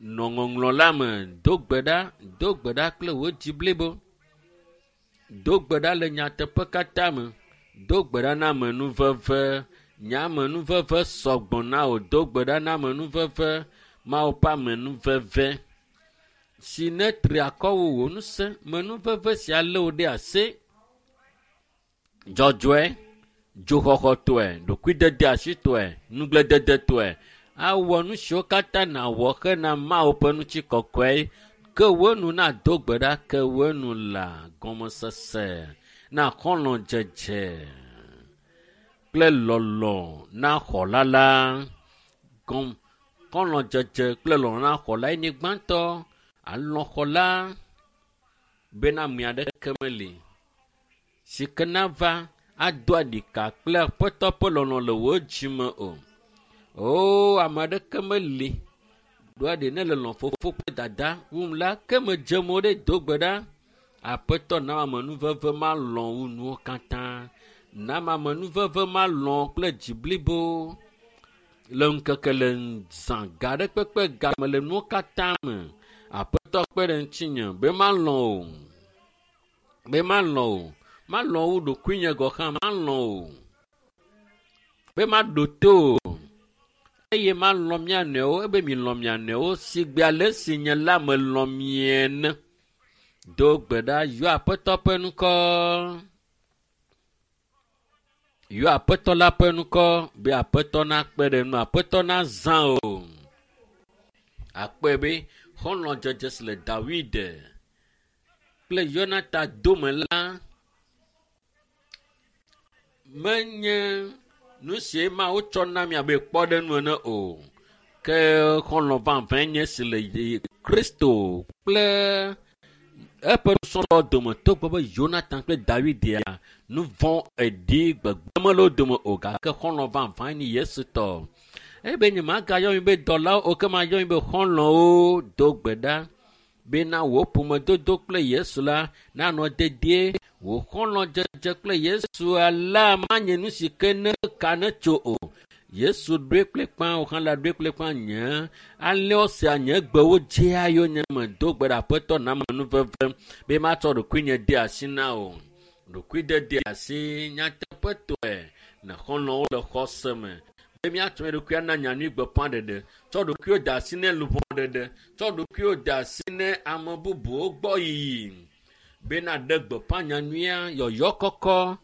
Nɔ ŋɔŋlɔ la me. Do gbe ɖa, do gbe ɖa kple wò dzi blibo. Do gbe ɖa le nyateƒe katã me. Do gbe ɖa na amenuveve. Nye amenuveve sɔgbɔ na wò. Do gbe ɖa na amenuveve. Mawu ƒe amenuveve si netri akɔ wu wò ŋusẽ. Amenuveve sia lé wò ɖe asi. Dzɔdzɔe, dzoxɔxɔtɔe, ɖokuidedeasitɔe, nugblededetɔe awɔ nu siwo katã nàwɔ hena Mawu ƒe ŋutikɔkɔe. Ke wò nu nado gbe ɖa, ke wò nu la gɔmesese na xɔlɔ̃dzedze kple lɔlɔ̃ na xɔla la. Gɔm xɔlɔ̃dzedze kple lɔlɔ̃ na xɔla ye nye gbãtɔ. Alɔ̃ xɔla bena ame aɖeke meli si ke nava ado aɖika kple Aƒetɔ ƒe lɔlɔ̃ le wò dzime o. O, ame aɖeke meli ɖoa ɖi ne le lɔ̃ fofo kple dada wum la, ke medze mo ɖe do gbe ɖa. Aƒetɔ na amenuveve malɔ̃ wu nuwo katã. Na amenuveve malɔ̃ kple dzi blibo le ŋkeke le zã ga ɖe kpekpe game le nuwo katã me. Aƒetɔ kpe ɖe ŋutinye be malɔ̃ o. Be malɔ̃ o. Malɔ̃ wu ɖokuinye gɔ̃ hã malɔ̃ o. Be maɖo to o. Eye malɔ̃ mía nɔewo ebe milɔ̃ mia nɔewo si gbe ale si nye la melɔ̃ mi ene. Do gbe ɖa yɔ Aƒetɔ ƒe ŋkɔ. Yɔ Aƒetɔ la ƒe ŋkɔ be Aƒetɔ nakpe ɖe nu, Aƒetɔ nazã o. Akpɔe be xɔlɔ̃dzedze si le Dawid kple Yonatan dome la menye nu si Mawu tsɔ na mi abe kpɔɖeŋu ene o. Ke xɔlɔ̃ vavãe nye si le Kristo kple eƒe nusrɔ̃lawo dome togbɔ be Yonatan kple Dawid ya nu vɔ̃ eɖi gbegbe mele wo dome o gake xɔlɔ̃ vavãe nye Yesu tɔ. Ebe nyemagayɔ mi be dɔlawo o ke mayɔ mi be xɔlɔ̃wo. Do gbe ɖa bena wò ƒomedodo kple Yesu la nanɔ dedie. Wò xɔlɔ̃dzedze kple Yesu la manye nu si ke ne ka ne tso o. Yesu ɖoe kplikpã, wò hã la ɖoe kplikpã nye alẽwo sea nye gbewo dzea yonyeme. Do gbe ɖa Aƒetɔ na amenuveve be matsɔ ɖokuinye de asi na wò. Ɖokuidede asi nyateƒetɔe ne xɔlɔ̃wo le xɔse me be míatsɔ mía ɖokui ana nyanyui gbeƒãɖeɖe. Tsɔ ɖokuiwo de asi ne luʋɔ ɖeɖe. Tsɔ ɖokuiwo de asi ne ame bubuwo gbɔ yiyi bena ɖe gbeƒã nyanyuia yɔyɔ kɔkɔ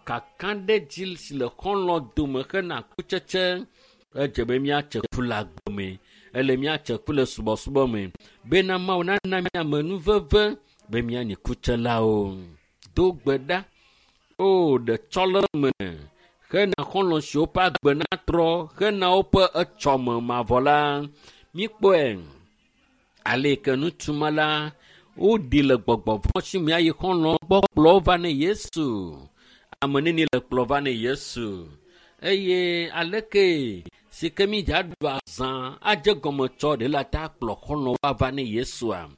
kakaɖedzi si le xɔlɔ̃ dome hena kutsetse. Edze be míatse ku le agbe me. Ele míatse ku le subɔsubɔ me bena Mawu nana mí amenuveve be míanyi kutselawo. Do gbe ɖa. O, ɖetsɔleme hena xɔlɔ̃ siwo ƒe agbe natrɔ hena woƒe etsɔme mavɔ la. Míkpɔe ale yi ke ŋutsu ma la woɖi le gbɔgbɔ vɔ̃ si me ayi xɔlɔ̃ gbɔ kplɔ wo va ne Yesu. Ame neni le kplɔ va ne Yesu. Eye aleke si ke mídza ɖu azã adze gɔme tsɔ ɖe la ta kplɔ xɔlɔ̃wo ava ne Yesua.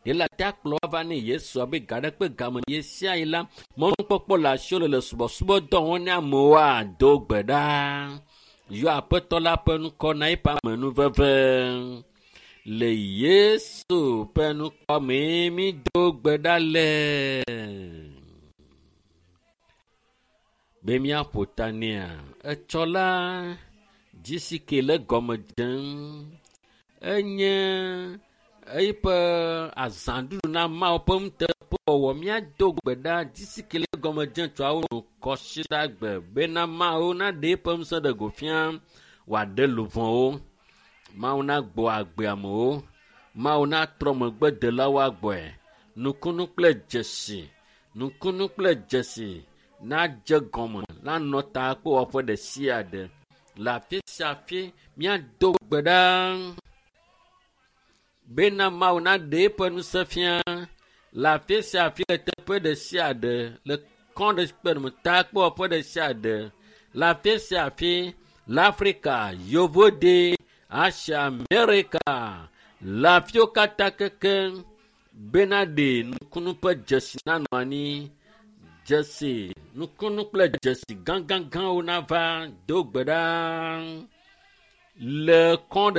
Ɖe la ta kplɔ ava ne Yesua be ga ɖe kpe game ɣe sia ɣi la mɔnukpɔkpɔ le asiwò le le subɔsubɔdɔ wɔm ne amewoa do gbe ɖa. Yɔ Aƒetɔ la ƒe ŋkɔ na eƒe amenuveve. Le Yesu ƒe ŋkɔ mee mído gbe ɖa le. Be míaƒo ta nɛa, etsɔ la dzi si ke le gɔme dzem enye eƒe azãɖuɖu na Mawu ƒe ŋuteƒe. Nuteƒewɔwɔ míado gbe ɖa disikele gɔme dze tsoawo nu kɔsiɖagbe bena Mawu naɖe eƒe ŋusẽ ɖe go fia wòaɖe luʋɔwo. Mawu nagbɔ agbe amewo. Mawu natrɔ megbedelawo agbɔe. Nukunu kple dzesi, nukunu kple dzesi nadze gɔme nanɔ ta kple wɔƒe ɖe sia ɖe. Le afi sia afi míado gbe ɖa bena Mawu naɖe eƒe ŋusẽ fia le afi sia afi le teƒe ɖe sia ɖe le kɔ ɖe kpe me ta kple wɔƒe ɖe sia ɖe le afi sia afi le Afrika, Yovode, Asia, Amerika, le afiwo katã keke bena ɖe nukunu ƒe dzesi nanɔ anyi. Dzesi, nukunu kple dzesi gãgãgãwo nava do gbe ɖa le kɔ ɖe.